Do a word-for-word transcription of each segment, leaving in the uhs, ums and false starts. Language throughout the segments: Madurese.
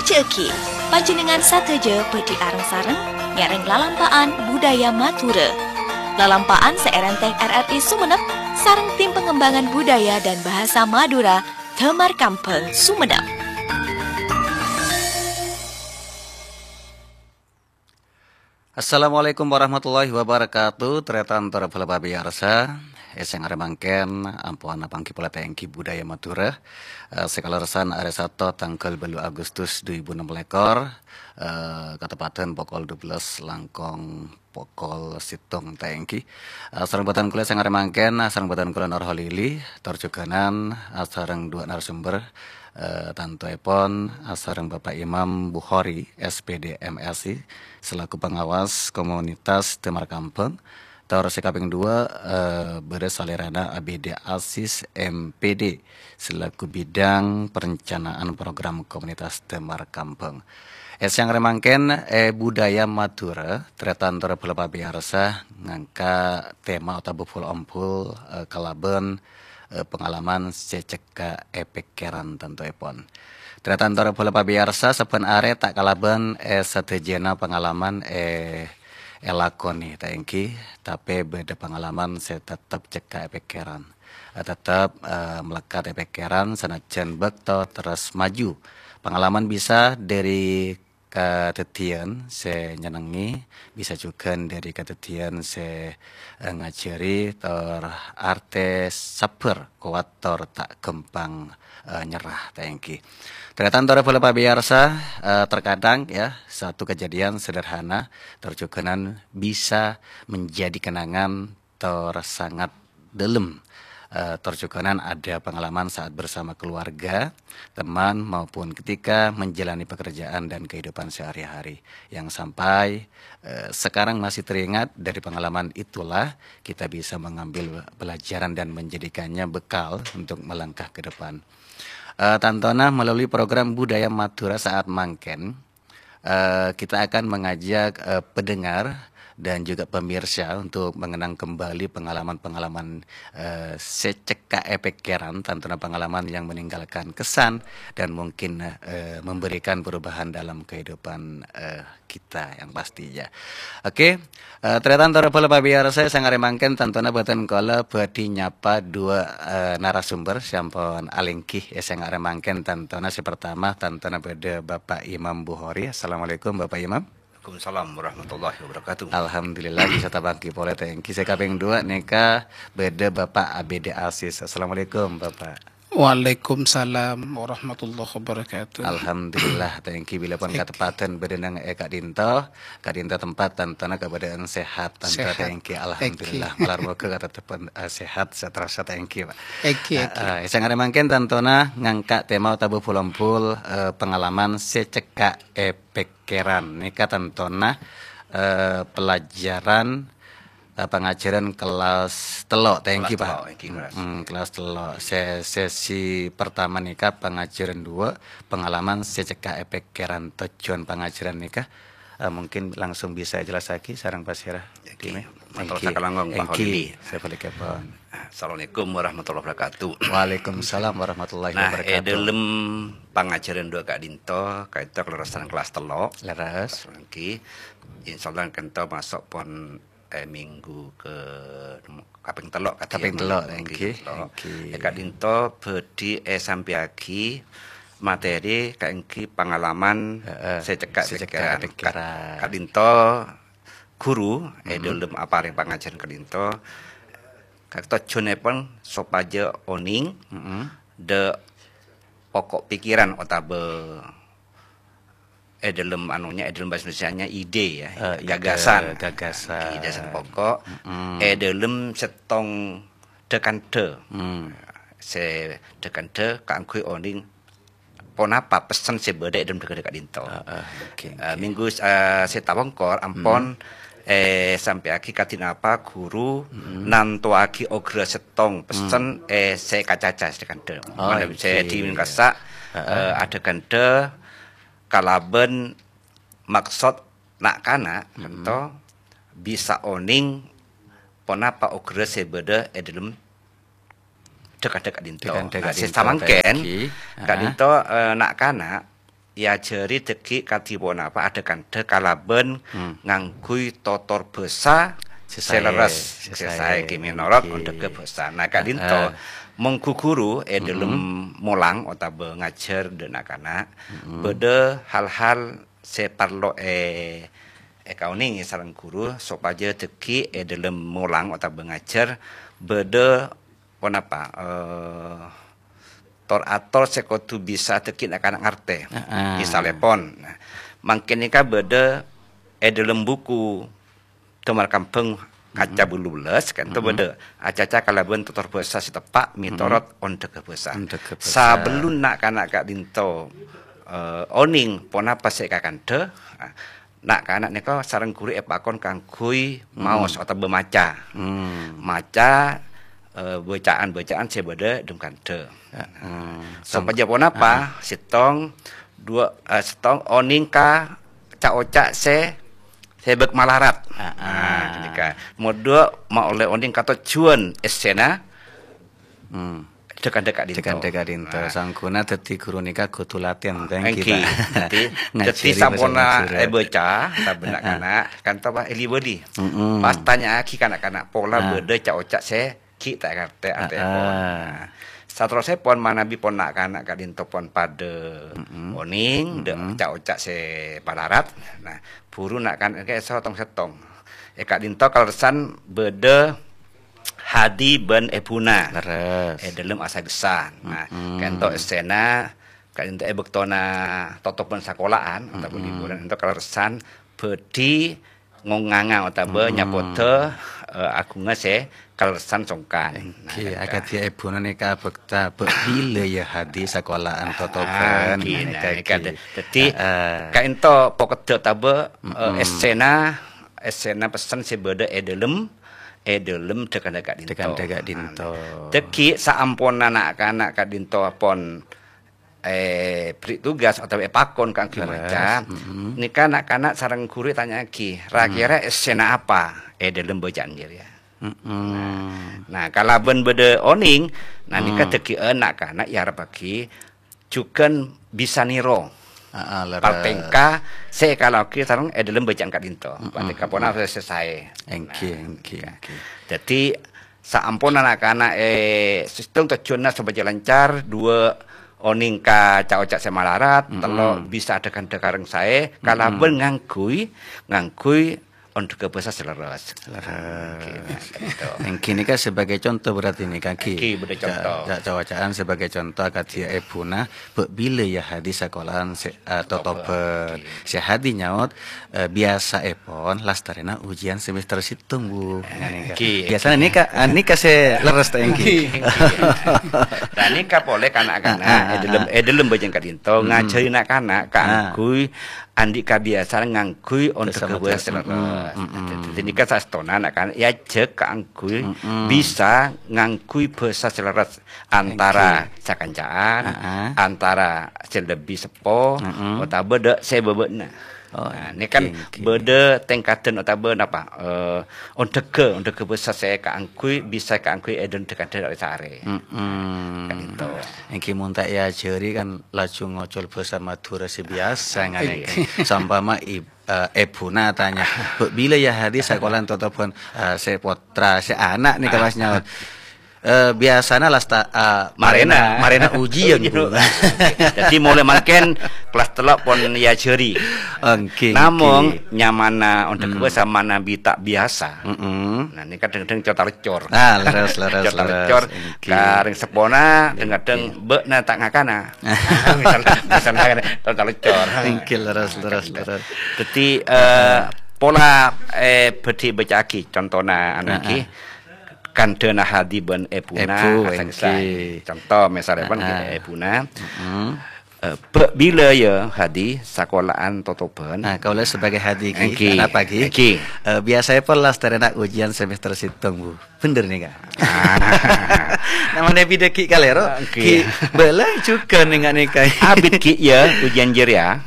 Jhâghi, panjhennengngan sadhâjâ bhâdhi areng-sareng ngèrèng lalampa'an budaya Madhurâ. Lalampa'an sè èrèntèng R R I Sumenep sareng Tim Pengembangan Budaya dan Bahasa Madura, Damar Kambhâng, Sumenep. Assalamualaikum warahmatullahi wabarakatuh. Tarètan tor bhâlâ pamèyarsa, è sèngara mangkèn ampon apangghi polè ta' ènggi budaya Madhurâ. Eh, sè kalerressan arè Sato tangghâl bâllu' Agustus dhu èbu ennem lèkor, eh, kateppadhân pokol dua belas langkong pokol sèttong ta' ènggi. Eh, sareng bhâdhân kaulâ sèngara mangkèn, sareng bhâdhân kaulâ Nur Holili, tor jhughânan, eh, sareng duwâ' narasumber, eh, tantoèpon, eh, sareng Bapak Imam Bukhari, S P D M S I, selaku pengawas komunitas Damar Kambhâng. Tor sè kapèng duwâ', eh, bâdâ salèrana Abdé Aziz, M P D, selaku bidang perencanaan program komunitas Damar Kambhâng. È sèngara mangkèn, è budaya Madhurâ, tarètan tor bhâlâ pamèyarsa ngangka' tema otabâ pol-ompol, eh, kalabân eh, pangalaman sè cekka' è pèkkèran tantoèpon. Tarètan tor bhâlâ pamèyarsa, sabbhân arè ta' kalabân, eh, sadhâjâna pangalaman, eh, èlakonè, ta' ènggi, tapè bâdâ pangalaman sè tettep cekka' è pèkkèran. Eh, tettep, eh, mlekkat è pèkkèran sanajjhân bâkto terros maju. Pangalaman bisa dâri kadhâddhiyân sè nyennengngè, bisa jhughân dâri kadhâddhiyân sè, eh, ngajhâri tor artè sabbhâr, kowat tor ta' ghâmpang, eh, nyerah, ta' ènggi. Tarètan tor bhâlâ pamèyarsa, eh, terkadang ya, satu kejadian sederhana tor jhughânan bisa menjadi kenangan tor sangat dâlem. Eh, tor jhughânan ada pengalaman saat bersama keluarga, teman, maupun ketika menjalani pekerjaan dan kehidupan sehari-hari. Yang sampai, eh, sekarang masih teringat, dari pengalaman itulah kita bisa mengambil pelajaran dan menjadikannya bekal untuk melangkah ke depan. Eh, tantona melalui program Budaya Madhurâ saat mangkèn, eh, kita akan mengajak, eh, pendengar dan juga pemirsa untuk mengenang kembali pengalaman-pengalaman, eh, sè cekka' è pèkkèran, tantona pengalaman yang meninggalkan kesan dan mungkin, eh, memberikan perubahan dalam kehidupan, eh, kita yang pastinya. Oke, eh, tarètan tor bhâlâ pamèyarsa, sèngara mangkèn tantona bhâdhân kaulâ bhâdhi nyapa duwâ', eh, narasumber sè ampon alèngghi, ya, sèngara mangkèn tantona sè pertama, tantona bâdâ Bapak Imam Bukhari. Assalamualaikum, Bapak Imam. Waalaikumsalam warahmatullahi wabarakatuh. Alhamdulillah, bisa tapangghi polè, ta' ènggi. Sè kapèng duwâ' nèka bâdâ Bapak Abdé Aziz. Assalamualaikum, Bapak. Waalaikumsalam warahmatullahi wabarakatuh. Alhamdulillah, ta' ènggi bilâ pon kateppadhân bâdâ neng è ka'dinto, ka'dinto tempat tantona kabâdâ'ân sehat, tanto Sehat. ta' ènggi. Alhamdulillah, malar moghâ katetteppan, eh, sehat, seterusnya ta' ènggi, Pak. Ènggi, ènggi. Eh, eh, sèngara mangkèn tantona ngangka' tema otabâ pol-ompol, eh, pengalaman sè cekka' è pèkkèran. Nèka tantona, eh, pelajaran eh, pangajhârân kelas tello', ta' ènggi, Pak? Kelas tello', ènggi, kelas. Mm, kelas tello'. Se-, sesi pertama nèka pangajhârân duwâ', pengalaman sè cekka' è pèkkèran. Tojjhuwân pangajhârân nèka, eh, mungkin langsung bisa èjellassaghi sareng pasèra. Ènggi. Dime. Mator Ènggi. Sakalangkong, Pak Ènggi. Holili. Sabalikèpon. Assalamualaikum warahmatullahi wabarakatuh. Waalaikumsalam warahmatullahi Nah, è wabarakatuh. dâlem pangajhârân duwâ' ka'dinto, ka'dinto kalerressan kelas tello'. Leres. Ènggi. Insyaallah ka'dinto maso' pon eh, minggu ke, kaping tello', kadi Kaping ya, tello', minggu ènggi, tello'. ènggi. Eh, ka'dinto bhâdhi èsampèyaghi materi kaènggi pangalaman Heeh, sè cekka' sè cekka' pèkkèran. pèkkèran. Ka-, ka'dinto ghuru è Mm-mm. dâlem aparèng pangajhârân ka'dinto, ka-, tojjhuwânnèpon sopajâ onèng Mm-mm. dâ' pokok pikiran otabâ è dâlem anunya, è dâlem bahasa Indonesianya ide ya, Eh, ide, gagasan. gagasan. Ide sè pokok, Mm-mm. è dâlem sèttong dhâ-kandhâ. Hmm. Sè dhâ-kandhâ kaangghuy onèng ponapa pessen sè bâdâ è dâlem dhâ-kandhâ ka'dinto. Ah, ah, oke, Eh, oke. minggu, eh, sè tapongkor ampon, Hmm. eh, sampèyaghi kadi napa ghuru Hmm. nantowaghi oghârâ sèttong pessen, Hmm. eh, sè èkacaca sè dhâ-kandhâ. Oh, Manabi sè oke. dimèngkasa, Ah, ah. eh, adhâ-kandhâ kalabân maksod na'-kana' Mm-mm. ento bisa onèng ponapa oghârâ sè bâdâ è dâlem dhâ-kandhâ ka'dinto. Dhâ-kandhâ Nah, sè ka'dinto samangkèn, tadi. Ah. ka'dinto, eh, na'-kana' èajhâri dhâggi' kadhi ponapa adhâ-kandhâ kalabân Hmm. ngangghuy totor bhâsa Sè sè saè, lerres, sè sè saè, saè, ghi' mènorot èngghi. Ondhâghâ bhâsa. Nah, ka'dinto Heeh. mongghu ghuru è Mm-mm. dâlem molang otabâ ngajhâr dâ' na'-kana', Mm-mm. bâdâ hal-hal sè parlo è-, èkaonèngè sareng ghuru sopajâ dhâggi' è dâlem molang otabâ ngajhâr bâdâ ponapa, eh, tor-ator sè kodhu bisa dhâggi' na'-kana' ngartè. Heeh. Misalèpon, nah, mangkèn nèka bâdâ è dâlem buku Damar Kambhâng kaca Mm-mm. bâllu bellâs, ka'dinto Mm-mm. bâdâ acaca kalabân totor bhâsa sè teppa' Mm-mm. mètorot ondhâghâ bhâsa. Ondhâghâ bhâsa. Sabellunna na'-kana' ka'dinto, eh, onèng ponapa sè èkakandhâ, nah, na'-kana' nèka sareng ghuru èpakon kaangghuy Mm-mm. maos otabâ maca. Mm. Maca, eh, bacaan-bacaan sè bâdâ è dâlem kandhâ. Heeh. Sopajâ ponapa? Heeh. Sèttong, duwâ', eh, sèttong onèng ka ca'-oca' sè, sè bâk malarat. Ah, Nah, ah. ghânèka. Nomer duwâ', maollè onèng ka tojjhuwân èssèna Hmm. dâ'-kandhâ ka'dinto. Dâ'-kandhâ ka'dinto. Nah. Sangghuwâna dhâddhi ghuru nèka kodhu latèn, thank you, Èngghi. Pak. Dhâddhi, Ngajhâri dhâddhi bhâsa samponna Madhurâ. èbâca, sabâna Ah, ah. kana', ka'dinto, Pak, èlibâli. Mm-mm. Pas tanya'aghi ka na'-kana' pola Ah. bâdâ ca'-oca' sè ghi' ta' èngartè Ah, atèpon. ah. Nah, saterrossèpon manabi pon na'-kana' ka'dinto pon padâ Mm-mm. onèng, dâ', Mm-mm. ca'-oca' sè malarat. Nah, buru na'-kana' èso tong-sèttong. È ka'dinto kalerressan bâdâ Hadi bân èbhuna. Lerres. È dâlem asagessan. Nah, Mm-mm. ka'dinto èssèna, ka'dinto è bâktona totobhân sakola'an, otabâ Mm-mm. liburan, ka'dinto kalerressan bhâdhi ngonganga otabâ Mm-mm. nyapodhâ, eh, aghungnga sè kalerressan songkan. Nah, Èngghi, ka'dinto. akadhi èbhuna nèka abhâkta, "Bâ' bilâ, yâ, Hadi, sakola'an totobhân?" Ah, èngghi, Nah, nah, nèka nèka èngghi. dâ-, dâddhi, Heeh. ka'dinto pokeddhâ otabâ, eh, Mm-mm. èssèna, èssèna pessen sè bâdâ è dâlem, è dâlem dâ'-kandhâ ka'dinto. Dâ'-kandhâ ka'dinto. Nah, dhâggi' saamponna na'-kana' ka'dinto pon èberri' tugas otabâ èpakon kaangghuy Lerres, maca, mm-mm. nèka na'-kana' sareng ghuru ètanya'aghi, "Ra-kèra Mm. èssèna apa è dâlem bacaan jârèya?" Mm-mm. Nah, nah, kalabân bâdâ onèng, nah, nèka Mm. dhâggi'ân na'-kana' èarebbhâghi jhughân bisa nèro Ah, ah, lerres. partèngka sè èkalakoaghi sareng è dâlem bacaan ka'dinto. Mm-mm. Partèngka ponapa sè saè. Èngghi, Nah, èngghi, nèka. èngghi. Dhâddhi, saamponna na'-kana' è sèttong tojjhuwânna sopajâ lancar, duwâ' onèng ka ca'-oca' sè malarat, Mm-mm. tello' bisa adhâ-kandhâ karèng saè, Mm-mm. kalabân ngangghuy, ngangghuy ondhâghâ bhâsa sè lerres. Lerres. Oke, nah, gitu. Èngghi nèka sebagai contoh berarti nèka, Ki. Èngghi, bâdâ Ca-, contoh. ca-, ca'-oca'an sebagai contoh akadhi èbhuna, "Bâ' bilâ, yâ, Hadi, sakola'an sè, eh, totobhân?" Oke. Sè Hadi nyaot, eh, "Biyasaèpon lastarèna ujian semester sèttong, Bu." Nah, nèka. Èngghi. Biyasana nèka, ah, nèka sè lerres ta' èngghi? Èngghi, èngghi. Nah, nèka polè ka na'-kana', Ah, ah, è dâlem, ah. è dâlem bhâjâng ka'dinto, Mm-mm. ngajhâri na'-kana' Ah. kaangghuy andi' kabiyasaan ngangghuy ondhâghâ bhâsa sè lerres. Mm, mm, mm. Dhâddhi nèka saèstona na'-kana' èajhâk kaangghuy Mm, mm. bisa ngangghuy bhâsa sè lerres antara Oke. sakancaan, Ah, ah. antara sè lebbi seppo, Mm, mm. otabâ dâ' sè bâbâ'na. Oh, Nah, ini kan oke, oke. bâdâ tèngkaddhân otabâ napa, eh, ondhâghâ, ondhâghâ bhâsa sè kaangghuy, bisa kaangghuy è dâlem tèngkaddhân sarè-sarè. Mm-mm. Kan itu. Èngghi mon ta' èajhâri kan laju ngocol bhâsa Madhurâ sè biyasa, Ah, ngene iya. kan. Sampama ib-, eh, èbhuna tanya, "Bâ' bilâ, yâ, Hadi, sakola'an totobhân?" Eh, sè pottra, sè ana' nèka pas nyaot, "Eh, biyasana lasta-, eh, Marèna. marèna, marèna ujian, Bu." Dhâddhi, molaè mangkèn kelas tello' pon èajhâri. Oke, Namong, oke. nyamanna ondhâghâ Hmm. bhâsa manabi ta' biyasa. Mm-mm. Nah, nèka dhâng-dhâng cor-talecor. Ah, lerres, lerres, Cor-talecor, lerres. Oke. karèng seppona, dhâng-dhâng Oke. bâ'na ta' ngakana. Misal, misalnya, cor-talecor. Oke, lerres, Nah, lerres, kan lerres. Dhâddhi, eh, Ah. pola, eh, bhâdhi bâca'aghi, contona, anu, Ah, èngghi, ah. kandhâna Hadi bân èbhuna, Èbhu, asal èngghi. Conto, misalnya, Ah, ah. èbhuna. Mm-mm. Eh, bâ' bilâ, yâ, Hadi, sakola'an totobhân? Nah, kaulâ sebagai Hadi, Ki. Èngghi. Kenapa, Ki? Èngghi. Eh, biasanya pon lastarèna ujian semester sèttong, Bu. Bhender nèka. Ah. Namanya bidhâ Ki kalèro, Èngghi. Ki bâlâ jhughân nèka-nèka. Abit, Ki, yâ, ujian jârèya.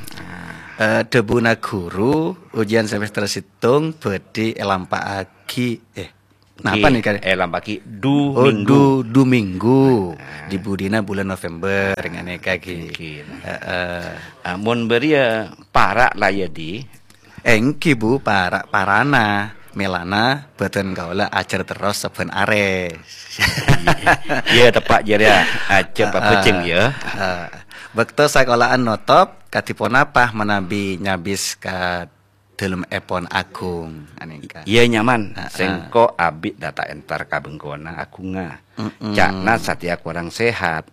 Eh, dhâbuna ghuru, ujian semester sèttong bhâdhi èlampa'aghi, eh, Napa Ki, nèka? Eh, lambâ' Ki, du Oh, minggu. du, du minggu. Nah. Di budina bulan November, nganèka, Ki. Ki, nah. Heeh. Ah, mon bâriyâ para' la yâ, Di? Èngghi, Bu, para'-parana. Mèlana bâdân kaulâ ajhâr terros sabbhân arè. Iyâ, teppa' jârèya, ajhâr Ah, pabhâjheng, ah, yâ. ah. Bâkto sakola'an notop, kadhi ponapa manabi nyabis ka dhâlemèpon Agung, anèngka. Iyâ, nyaman. Heeh. Sèngko' abit dâ' ta' entar ka bengkona Agungnga. Mm-mm. Ca'na satèya korang sehat.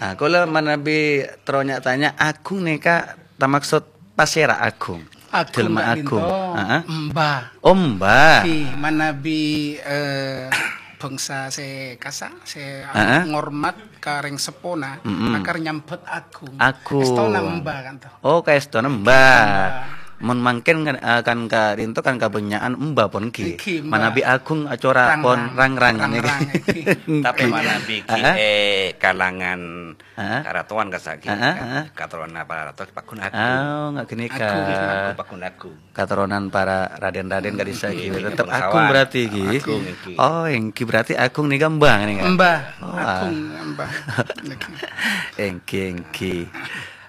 Nah, kaulâ manabi terro nya-tanya, Agung nèka tamaksud pasèra Agung? Agung Dhâlemma ka'dinto Agung. Heeh. Emba. Oh, emba. Di manabi, eh, bangsa sè kasa, sè Heeh. ngormat ka rèng seppona, Mm-mm. makar nyambhut Agung. Agung. Èstona emba kan to. Oh, kaèstona emba. Emba. Mon mangkèn kan, eh, kan ka'dinto kan kabânnya'an emba pon, Ki. Èngghi, emba. Manabi Agung acora Rang-rang. pon rang-rang. Rang-rang, èngghi. Èngghi. Tapè manabi, Ki, Heeh. eh, kalangan Heeh. karatowan kasa', Ki. Heeh, heeh. Katoronan para rato paggun Agung. Ah, nga' ghânèka. Agung, Agung, paggun Agung. Katoronan para raden-raden ka'dissa', Ki. Èngghi, Tetep bangsawan. Agung berarti, Ki. Agung, èngghi. Oh, èngghi berarti Agung nèka emba, nèka. Emba. Oh, ah. Agung, emba. Èngghi. Èngghi, èngghi.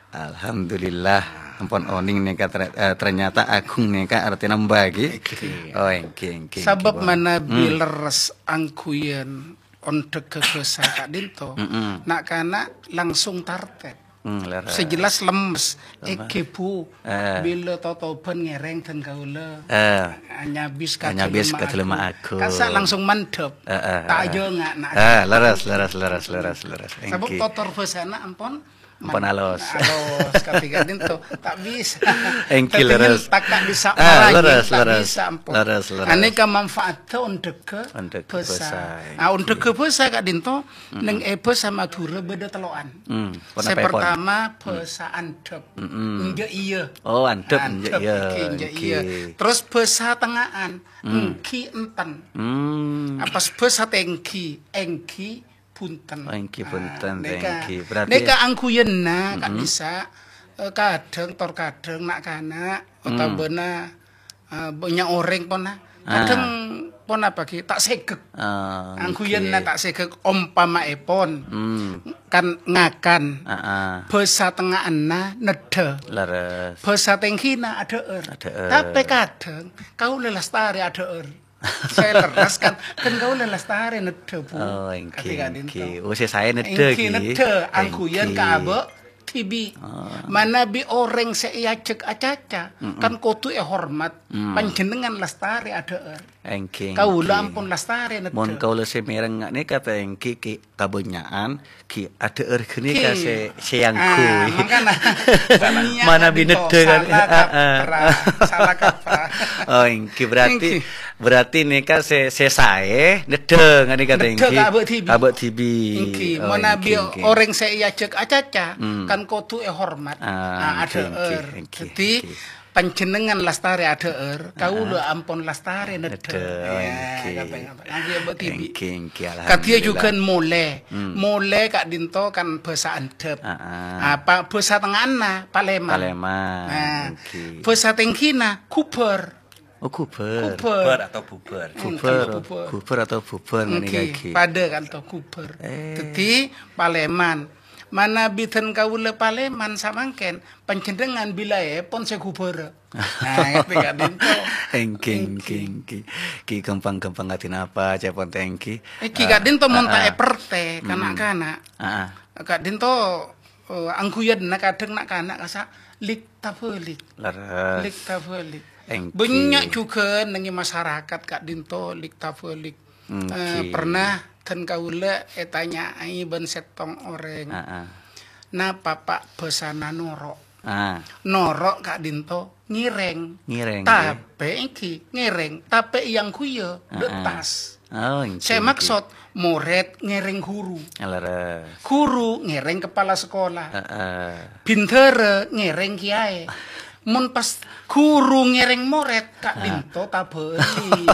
Alhamdulillah, ampon onèng nèka ter-, eh, ternyata Agung nèka artèna emba, Ki. Èngghi. Oh, èngghi, èngghi, èngghi, Sabâb Bang. manabi Hmm. lerres angghuyan ondhâghâ bhâsa ka'dinto, Mm-mm. na'-kana' langsung tartèp. Hmm, lerres. Sè jelas lemmes. Lemmes. Èngghi, Bu. Eh. Bilâ totobhân ngèrèng dân kaulâ. Eh. Nyabis ka Nyabis dhâlemma ka dhâlemma Agung. Agung. Kasa' langsung mandhâp. Eh, eh, Ta' eh. ajhâ nga', na'. Eh, lerres, lerres, lerres, lerres, lerres. Sabâb Èngghi. totor bhâsana ampon Ampon man-, alus. alus, kadhi ka'dinto. Ta' bisa. Èngghi, Dâddhi lerres. ngentak ta' bisa, Ah, maraghi lerres, ta' lerres. bisa, ampon. Lerres, lerres. Anèka manfaatdhâ ondhâghâ Ondhâghâ bhâsa. bhâsa, Ah, èngghi. ondhâghâ bhâsa ka'dinto, Mm-mm. neng è bhâsa Madhurâ bâdâ tello'an. Mm, Sè ponapa èpon? pertama, Mm. bhâsa andhâp. Mm-mm. Enjâ' iyâ. Oh, andhâp, Andhâp, enjâ' iyâ, èngghi, enjâ' iyâ. èngghi. Terros bhâsa tengnga'an, Mm. èngghi enten. Mm. Apa bhâsa tèngghi, èngghi bhunten. Oh, èngghi Ah, bhunten, nèka. èngghi. Berarti Nèka angghuyanna Mm-mm. ka'dissa', eh, kadhâng tor kadhâng na'-kana' Mm. otabâna, eh, bânnya' orèng pona. Ah. Kadhâng ponapa, Ki? Ta' sèghek. Ah, Angghuyanna èngghi. ta' sèghek, ompamaèpon. Hmm. Kan ngakan. Ah, ah. Bhâsa tengnga'anna neddhâ. Lerres. Bhâsa tèngghina adhâ'âr. Adhâ'âr. Tapè kadhâng kaulâ lastarè adhâ'âr. Sè lerres kan, kan kaulâ lastarè neddhâ, Bu. Oh, èngghi, Kadhi ka'dinto. èngghi. Oh, sè saè neddhâ, Èngghi Ki. neddhâ, angghuyan Èngghi. ka abâ' dhibi'. Ah. Manabi orèng sè èajhâk acaca, Mm-mm. kan kodhu èhormat. Mm. Panjhennengngan lastarè adhâ'âr. Èngghi, Kaulâ èngghi. ampon lastarè neddhâ. Mon kaulâ sè mèreng nga' nèka ta' èngghi, Ki, kabânnya'an, Ki, adhâ'âr ghânèka Ki. sè, sè Ah, angghuy. mangkana. Manabi Bânnya' neddhâ kan. salah Ah, ah. kaprah, salah kaprah. Oh, èngghi, berarti, Èngghi. berarti nèka sè, sè saè neddhâ nga' nèka ta' Neddhâ èngghi. ka abâ' dhibi'. Abâ' dhibi'. Èngghi, Oh, manabi èngghi, èngghi. orèng sè èajhâk acaca, Hmm. kan kodhu èhormat. Ah, Ah, èngghi, èngghi, adhâ'âr. èngghi, Dâddhi, èngghi. Panjhennengngan lastarè adhâ'âr, kaulâ Ah. ampon lastarè neddhâ. Neddhâ, Iyâ, èngghi. kadhâng apa? Angghuy abâ' dhibi'. Èngghi, èngghi, Kadhiyâ alhamdulillah. jhughân molè. Hmm. Molè ka'dinto kan bhâsa andhâp. Ah, ah. Apa bhâsa tengnga'anna palèman. Palèman, Nah, èngghi. bhâsa tèngghina ghubâr. Oh, ghubâr. Ghubâr. Ghubâr atau bubâr. Hmm, Ghubâr, atau bubâr. ghubâr atau bubâr, ngene Èngghi, iki. padâ kanto ghubâr. Eh. Dâddhi palèman. Manabi dân kaulâ palèman samangkèn, panjhennengngan bilâèpon sè ghubârâ. Nah, ngerti ka'dinto? Èngghi, èngghi, Èngghi. èngghi. Ki gampang-gampang ati napa, cèpon tèngghi. Èngghi Eh, ka'dinto mon ta' ah, ah. èpertè, Mm-mm. kana'-kana'. Ah, ah. Ka'dinto, eh, angghuyanna kadhâng na'-kana' kasa' lik-tabâlik. Leres. Lik-tabâlik. Èngghi. Bânnya' jhughân neng è masarakat ka'dinto lik-tabâlik. Èngghi. Eh, pernah dân kaulâ ètanya'aghi bân sèttong orèng, Ah, ah. "Napa, Pa', bhâsana noro'?" Ah. Noro' ka'dinto ngèrèng. Ngèrèng, ya. Tapè èngghi ngèrèng, tapè èangghuya dâ' Ah, ah. tas. Oh, èngghi, Sè èngghi. maksod, morèd ngèrèng ghuru. Leres. Ghuru ngèrèng kepala sekolah. Heeh. Bhindhârâ ngèrèng kiyaè. Mon pas ghuru ngèrèng morèd, ka'dinto Ah. tabâlik.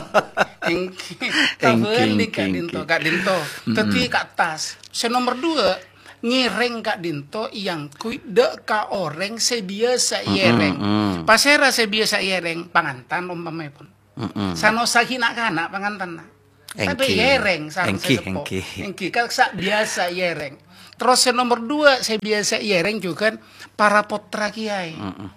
Èngghi, Èngghi, tabâlik èngghi, ka'dinto, èngghi. ka'dinto. Mm-mm. Dâddhi ka' tas. Sè nomer dua, ngèrèng ka'dinto èangghuy dâ' ka orèng sè biyasa Mm-mm, èèrèng. mm. Pasèra sè biyasa èèrèng? Pangantan ompamaèpon. Mm-mm. Sanosa ghi' na'-kana' pangantanna. Tapè Èngghi. Èrèng sareng Èngghi, sè seppo. Èngghi. Èngghi, ka-, sa-, biyasa èrèng. Terros sè nomer dua, sè biyasa èrèng jhughân para pottra kèyaè. Mm-mm.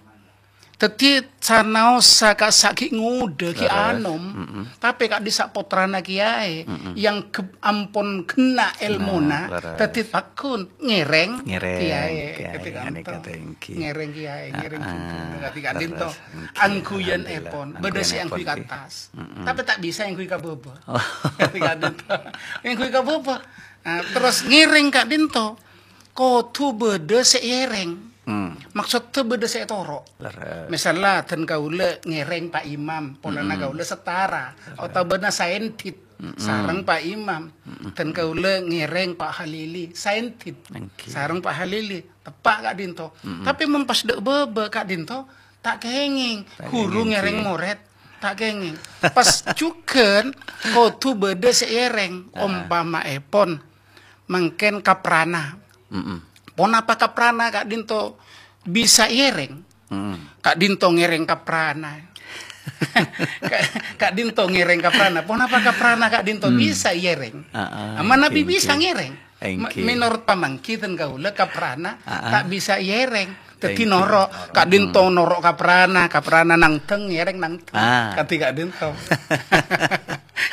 Dhâddhi sanaossa ka-, sa-, ghi' ngodâ, ghi' Lerres. Anom, Mm-mm. tapè ka'dhissa' pottrana kèyaè Mm-mm. yang ghe-, ampon ghenna' èlmona, Nah, lerres. dhâddhi pagghun ngèrèng Ngèrèng kèyaè. kèyaè, Dhâddhi ghânèka kanto. Èngghi. Ngèrèng kèyaè, ngèrèng Ah, jhughân. Dhâddhi ka'dhinto lerres. Èngghi. Angghuyan Alhamdulillah. èpon. Bâdâ sè Angghuyan angghuy èpon, ka ghi. attas. Mm-mm. Tapè ta' bisa èngghuy ka bâbâ. Oh. Dhâddhi ka'dhinto. Èngghuy ka bâbâ. Nah, terros ngèrèng ka'dhinto. Kodhu bâdâ sè èèrèng. Hmm. Maksoddhâ bâdâ sè ètoro'. Lerres. Misalla, dân kaulâ ngèrèng Pa' Imam, polana Mm-mm. kaulâ setara, Lerres. otabâna saendit Mm-mm. sareng Pa' Imam. Mm-mm. Dân kaulâ ngèrèng Pa' Halili, saendit Èngghi. sareng Pa' Halili. Teppa' ka'dhinto. Mm-mm. Tapè mon pas dâ' bâbâ ka'dhinto, ta' kèngèng. Ta' Ghuru kèngèng, ngèrèng Èngghi. morèd, ta' kèngèng. Pas jhughân kodhu bâdâ sè èèrèng, Heeh. ompama'èpon mangkèn kaprana. Mm-mm. Ponapa kaprana ka'dhinto bisa èèrèng? Mm-mm. Ka'dhinto ngèrèng kaprana. Ka-, ka'dhinto ngèrèng kaprana. Ponapa kaprana ka'dhinto Hmm. bisa èèrèng? Ah, ah, Manabi èngghi, bisa èngghi. ngèrèng. Ma-, Èngghi. Menurut pamangghi dân kaulâ kaprana Ah, ah. ta' bisa èèrèng. Dhâddhi Èngghi. noro'. Ka'dhinto Hmm. noro' kaprana, kaprana nangdhâng, ngèrèng nangdhâng. Ah. Kadhi ka'dhinto.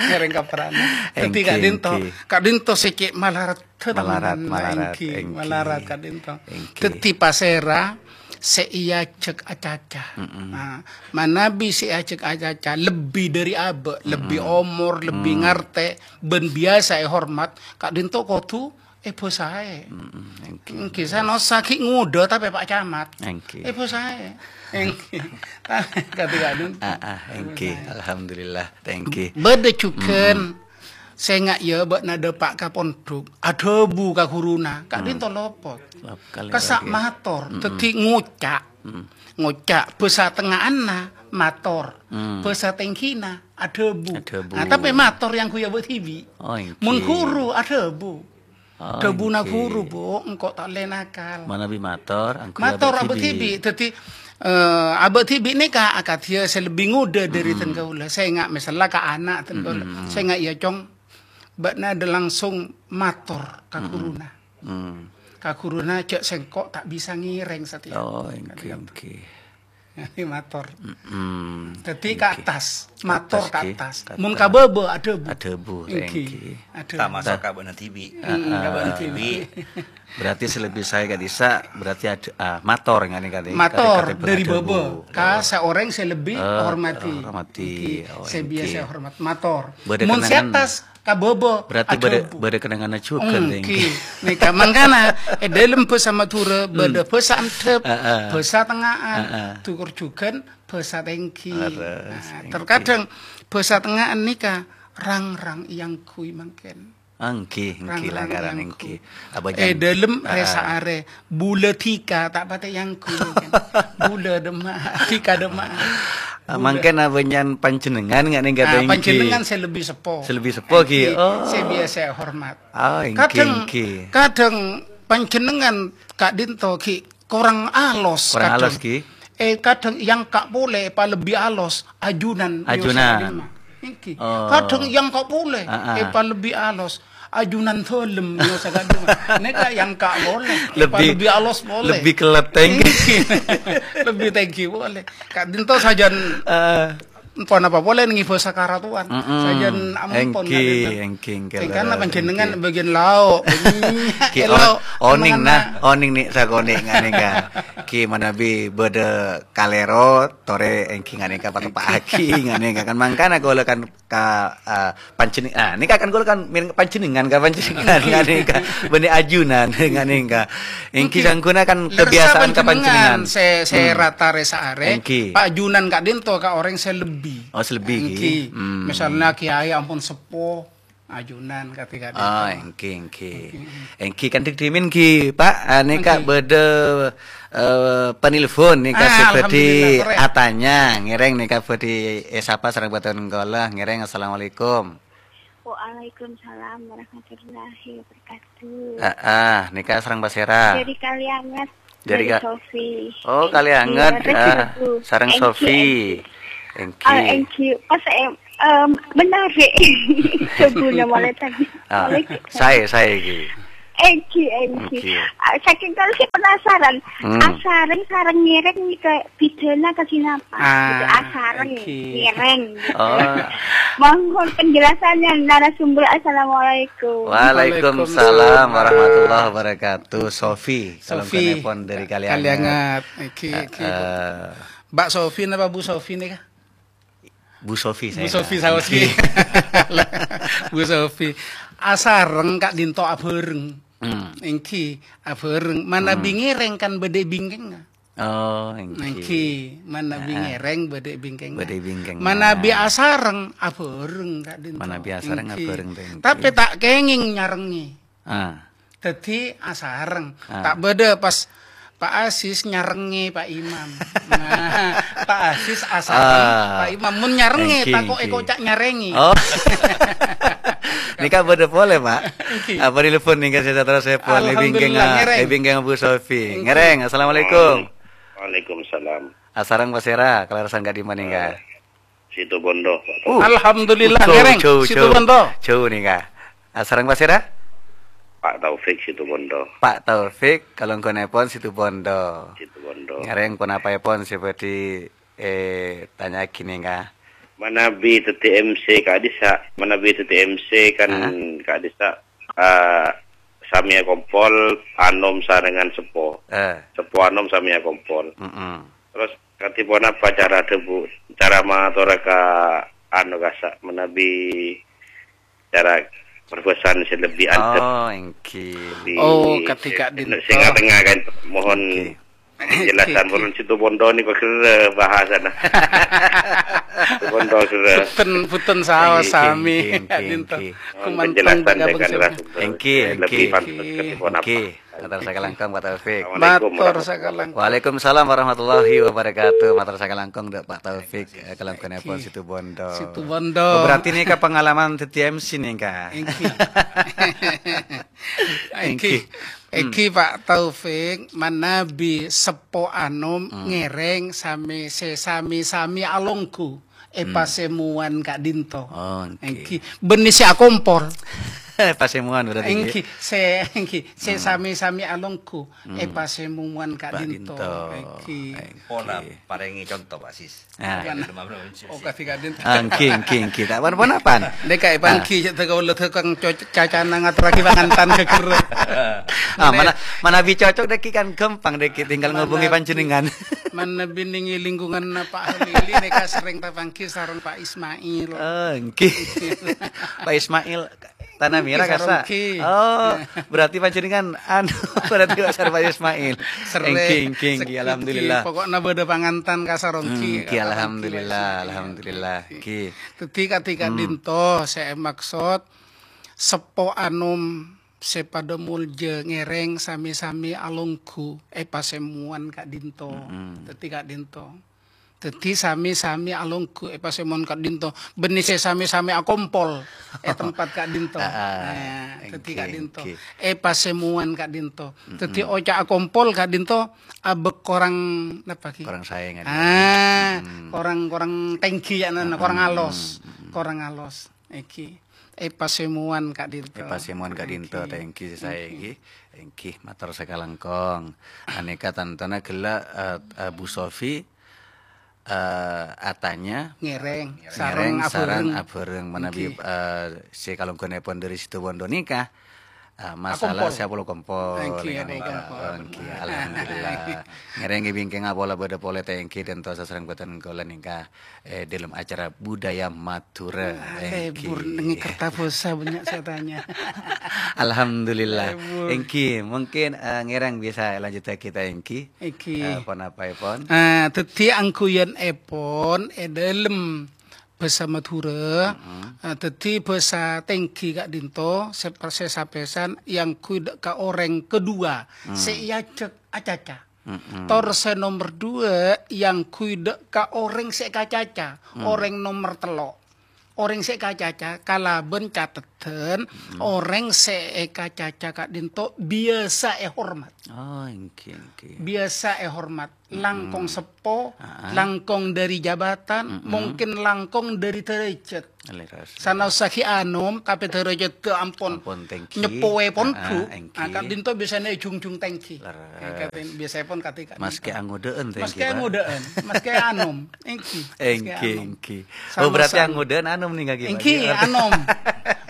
Ngèrèng kaprana. Dhâddhi Èngghi, ka'dhinto, èngghi. ka'dhinto sè cè' malarat. Malarat, malarat, Èngghi, èngghi. malarat ka'dhinto. Èngghi. Dhâddhi pasèra sè èajhâk acaca. Mm-mm. Nah, manabi sè èajhâk acaca lebbi dâri abâ', lebbi Mm-mm. omor, lebbi Mm. ngartè, bân biyasa èhormat, ka'dhinto kodhu èbhâsaè. Mm-mm, èngghi. Èngghi, sanaossa ghi' ngodâ tapè Pa' Camat. Èngghi. Èbhâsaè. Èngghi. Kadhi ka'dhinto. Ah, ah, èngghi. Èbhâsaè. Alhamdulillah, èngghi. Bâdâ jhughân Mm-mm. Sènga' iyâ bâ'na dâpa' ka pondhuk, adhâbu ka ghuruna, ka'dhinto Hmm. lopot. Lop-, kali Kassa' lagi. mator, Hmm. dhâddhi ngoca'. Hmm. Ngoca', bhâsa tengnga'anna mator, Hmm. bhâsa tèngghina adhâbu. Adhâbu. Nah, tapè mator èangghuy abâ' dhibi'. Oh, èngghi. Mon ghuru adhâbu. Oh, Dhâbuna èngghi. ghuru, "Bu, engko' ta' ollè nakal." Manabi mator, èangghuy Mator abâ' abâ' dhibi'. dhibi'. Dhâddhi, eh, abâ' dhibi' nèka akadhiyâ sè lebbi ngodâ dâri Hmm. dân kaulâ. Sènga' misalla ka ana' dân kaulâ. Hmm. Sènga' iyâ, Cong. Bâ'na dâ' langsung mator ka Hmm. ghuruna. Hmm. Ka ghuruna, "Jhâ' sèngko' ta' bisa ngèrèng satèya." Oh, èngghi, Kadhi-kadhi. èngghi. Ini mator. Mm-mm. Dhâddhi ka Èngghi. attas, mator Attas, ka ghi. attas. Ka Mun attas. ka bâbâ, adhâbu. Adhâbu, Èngghi. èngghi. Adhâbu. Tamaso' ka bâ'na dhibi'. Mm, Heeh. ka bâ'na dhibi'. Berarti sè lebbi saè ka'dhissa', berarti ad-, ah, mator ngene kali. Mator Kate-kate dâri adhâbu. bâbâ. Ka Oh. saorèng sè lebbi Eh, hormati. hormati. Èngghi. Oh, Sè èngghi. biyasa hormat. Mator. Bâdâ Mun sè kenangan. attas, ka bâbâ, Berarti bâdâ, adhâbu. bâdâ kenanganna jhughân, Èngghi. èngghi. Nèka mangkana, è dâlem bhâsa Madhurâ, Hmm. bâdâ bhâsa andhâp, Heeh. bhâsa tengnga'an, Heeh. dhukor jhughân, bhâsa tèngghi. Leres, Nah, èngghi. terkadang bhâsa tengnga'an nèka rang-rang èangghuy mangkèn. Èngghi, èngghi, Rang-rang langgaran èangghuy. èngghi. Abâ' È jan-, dâlem Heeh. rèsa arè, bulâ dhika ta' patè èangghuy mangkèn. Bulâ dâmma'a, dhika dâmma'a. Ah, Bulâ. mangkèn abâ' jan panjhennengan nga' nèngghâ Ah, èngghi. panjhennengan sè lebbi seppo. Sè lebbi seppo, ghi. Èngghi, Oh. sè biyasa hormat. Ah, èngghi, Kadhâng, èngghi. kadhâng panjhennengan ka'dhinto ghi korang alos Korang kadhâng. alos, ghi. Eh, kadhâng èangka' polè èpalebbi alos, ajunan, Ajunan. mèyosa ka'dimma. Èngghi. Oh. Kadhâng èangka' polè, Ah, ah. èpalebbi alos, ajunan dhâlem, mèyosa ka'dimma. Nèka èangka' polè, Lebbi, èpalebbi alos polè. lebbi kellet tèngghi. Èngghi. Lebbi tèngghi polè. Ka'dhinto sajân Ah. Ponapa polè nèng bhâsa karatuan. Mm-mm. Sajân ampon Èngghi, ka'dhinto. èngghi, èngghi, Sèngkana leres, panjhennengan èngghi. bâgiyân lao'. Ghi Lao', o-, onèng, mangkana. nah, onèng nè' sakonè' nga' nèngghâ. Ghi manabi bâdâ kalèro, torè èngghi nga' nèngghâ patepa'aghi, nga' nèngghâ kan mangkana kaulâ kan ka, eh, panjhenneng-, ah, nèka kan kaulâ kan mèn-, panjhennengan ka panjhennengan, nga' nèngghâ. Bânnè ajunan, nga' nèngghâ. Èngghi Èngghi. sangguna kan Lersa kebiasaan ka panjhennengan. panjhennengan sè, sè Hmm. rata rè saarè, Èngghi. paajunan ka'dhinto ka orèng sè lebbi. Oh, sè lebbi, Èngghi. ghi. Hmm. Misalnya kiai ampon seppo, ajunan kadhi-kadhi. Oh, èngghi, èngghi. Èngghi. Èngghi kan dik dhimin, ghi, Pak. Ah, nèka Èngghi. bâdâ, eh, penelpon nèka Ah, sè bhâdhi alhamdulillah, torè. atanya, ngèrèng nèka bhâdhi èsapa sareng bhâdhân kaulâ, ngèrèng. Assalamualaikum. Waalaikumsalam warahmatullahi wabarakatuh. Ah, ah, nèka sareng pasèra? Dâri Kalianget, Dâri dâri Ka-, Sofi. oh, Èngghi, Kalianget, rèng ah, Sofi. sareng Èngghi, Sofi. èngghi. Èngghi. Ah, èngghi. Pas em-, Em, menarik. Coba mulai tadi. Ah, Mulai sae, sae iki. Egi, egi. Egi. Ah, saking kalau saya penasaran, Hmm. asareng sareng ngereng ini ke pidana ke sinapa? Ah, Gitu, asareng, egi. ngereng. Gitu. Oh. Mohon penjelasannya narasumber. Assalamualaikum. Waalaikumsalam Waalaikumsalam. warahmatullahi wabarakatuh. Sofi, kalau Sofi. telepon dari Kaliangat. Kaliangat. Egi, egi. Eh, Mbak Sofi napa Bu Sofi nih kah? Bu Sofi Bu saya. Sofi saos ki. Bu Sofi. Asareng ka'dinto abhâreng. Hmm. Èngghi, abhâreng. Manabi Hmm. ngèrèng kan bâdâ è bingkèngnga. Oh, èngghi. Èngghi, manabi Heeh. ngèrèng bâdâ è bingkèngnga. Bâdâ è bingkèngnga. Manabi asareng abhâreng ka'dinto. Manabi asareng Èngghi. abhâreng, èngghi. Tapè ta' kèngèng nyarengngè. Ah. Dhâddhi asareng. Ah. Ta' bâdâ pas Pak Aziz nyarengngè Pak Imam. Nah, Pak Aziz asareng, Ah. Pak Imam. Mon nyarengngè, Èngghi, tako' èngghi. èkoca' nyarengngè. Oh. Nèka bâdâ polè, Pak. Èngghi. Apa nèlpon nèka sè terros nèlpon? Alhamdulillah, Èbingkèng, ngèrèng. Èbingkèng Bu Sofi. Èngghi. Ngèrèng, assalamualaikum. Waalaikumsalam. Asareng pasèra, kaleresan ka'dimma nèka? Eh, Situbondo, Pak Uh. Taufik. Alhamdulillah, Jhâu, ngèrèng. jhâu, jhâu. Situbondo. Jhâu nèka. Asareng pasèra? Pak Taufik Situbondo. Pak Taufik, kalongghunnèpon Situbondo. Situbondo. Ngèrèng ponapaèpon sè bhâdhi, eh, tanya'aghi nèka? Manabi dhâddhi M C ka'dissa', manabi dhâddhi M C kan Hah? ka'dissa', eh, samèya kompol, anom sarengan seppo. Eh. Seppo anom samèya kompol. Mm-mm. Terros, kadhi ponapa cara dhâbu-, cara matorra ka, anu, kassa' manabi cara perbasaan sè lebbi andhâp? Oh, èngghi. Lebbi Oh, sè, kadhi ka'dinto. sè nga-tengnga kan. Mohon Èngghi. penjelasan. Èngghi. Purun Situbondo nèko ghârrâ bahasana. Situbondo ghârrâ. Bhunten, bhunten saos Èngghi, sami. èngghi, èngghi, Ka'dinto. èngghi. Mohon Kumantong penjelasan ka dengan bhâkal narasumber. Èngghi, Sè èngghi. lebbi pantes Èngghi. kadhi ponapa? Mator sakalangkong, Pak Taufik. Assalamualaikum Mator warahmatullahi sakalangkong. Waalaikumsalam warahmatullahi wabarakatuh. Mator sakalangkong, Dak, Pak Taufik, eh, kalangkongnèpon Èngghi. Situbondo. Situbondo. Oh, berarti nèka pengalaman dhâddhi M C nèka. Èngghi. Èngghi. Èngghi. Hmm. Èngghi, Pak Taufik, manabi seppo anom Hmm. ngèrèng sami, sè sami-sami alongghu. è Hmm. pasemowan ka'dinto. Oh, èngghi. Èngghi. Bânnè sè akompol. Pasemowan berarti, Èngghi. Sè, èngghi. Sè Hmm. sami-sami alongghu è Hmm. pasemowan ka'dinto. Ka'dinto. Èngghi. Èngghi. Pola parèngè conto, Pak Sis. Ah. Apa? Ada lima belas Oh, Sis. kadhi ka'dinto. Ah, èngghi, èngghi, èngghi. Ta' pan-ponapan. Dek kaè Ah. panggi, cè' teko ulo teko co-, cacana ngatorraghi pangantan ka ghârrâ. Ah, mana, manabi cocok dek kan gampang dek tinggal ngobungi Manabi. panjenengan. Manabi nèng è lingkungan Pak Halili nèka serrèng tapanggi sareng Pak Ismail. Oh, èngghi. Pak Ismail, Tanah Merah Èngghi, kassa'. sareng èngghi. Oh, berarti panjenengan, anu, berarti pasar Pak Ismail. Serrèng. Èngghi, èngghi, èngghi, Segi alhamdulillah. èngghi. Pokokna bâdâ pangantan ka sareng èngghi. Hmm, èngghi, alhamdulillah, Alhamdulillah. alhamdulillah. Èngghi. Èngghi. Dâddhi kadhi Hmm. ka'dinto sè èmaksod seppo anom sè padâ molja ngèrèng sami-sami alongghu è pasemowan ka'dinto. Mm-mm. Dâddhi ka'dinto. Dâddhi sami-sami alongghu è pasemowan ka'dinto. Bânnè sè sami-sami akompol è tempat ka'dinto. Ah, ah. Nah, dâddhi Èngghi, ka'dinto. èngghi. È pasemowan ka'dinto. Dâddhi Mm-mm. oca' akompol ka'dinto abâ' korang napa ghi? Korang saè, kan? Ah, Mm-mm. korang, korang tèngghi ya, nana, korang Mm-mm. alos. Mm-mm. Korang alos. Èngghi. È pasemowan ka'dinto. È pasemowan ka'dinto, Èngghi. tèngghi sè saè Èngghi. èngghi. Èngghi, mator sakalangkong. Anèka tantona ghellâ', eh, eh, Bu Sofi, eh, atanya Ngèrèng, ngèrèng sareng sareng abhâreng. abhâreng manabi, Èngghi. eh, sè kalongghunnèpon dâri Situbondo nèka. Eh, masalah Akompol. sè apolo kompol, Èngghi, nèka, apolo nèka. kompol. Oh, èngghi, alhamdulillah. Ngèrèng è bingkèngnga pola bâdâ polè tèngghi dânto sasareng bhâdhân kaulâ nèka. Eh, dalam acara budaya Madura. Ah, Èngghi. lebur nèng kerta bhâsa banyak saya tanya. Alhamdulillah. Lebur. Èngghi, mungkin, eh, ngèrèng bisa lanjut kita èngghi. Èngghi. Eh, ponapaèpon? Ah, dâddhi angghuyanèpon è dâlem bhâsa Madhurâ, Mm-mm. eh, dâddhi bhâsa tèngghi ka'dinto, sè, sè sapèsan èangghuy dâ' ka orèng kedua, Hmm. sè èajhâk acaca. Mm-mm. Tor sè nomer dua èangghuy dâ' ka orèng sè èkacaca, Hmm. orèng nomer tello'. orèng sè èkacaca kalabân cateddhân, orèng sè èkacaca ka'dinto biyasa èhormat. Oh, èngghi, èngghi. Biyasa èhormat, langkong seppo, langkong dhâri jabatan, mungkin langkong dhâri dârâjhât. Leres. Sanaossa ghi' anom, tapè dârâjhâddhâ ampon Ampon tèngghi. Nyeppoè pondhu'. Ah, èngghi. Ah, ka'dinto biyasana è jhung-jhung tèngghi. Leres. Eh, ka'din-, biyasaèpon kadhi ka'dinto. Maskè angodâ'ân tèngghi, Maskè Pak. Angodâ'ân, maskè anom. Èngghi, maskè Èngghi, anom. Èngghi. Oh, berarti Sanaossa angodâ'ân anom nèng ka'dinto, Pak. Èngghi, anom.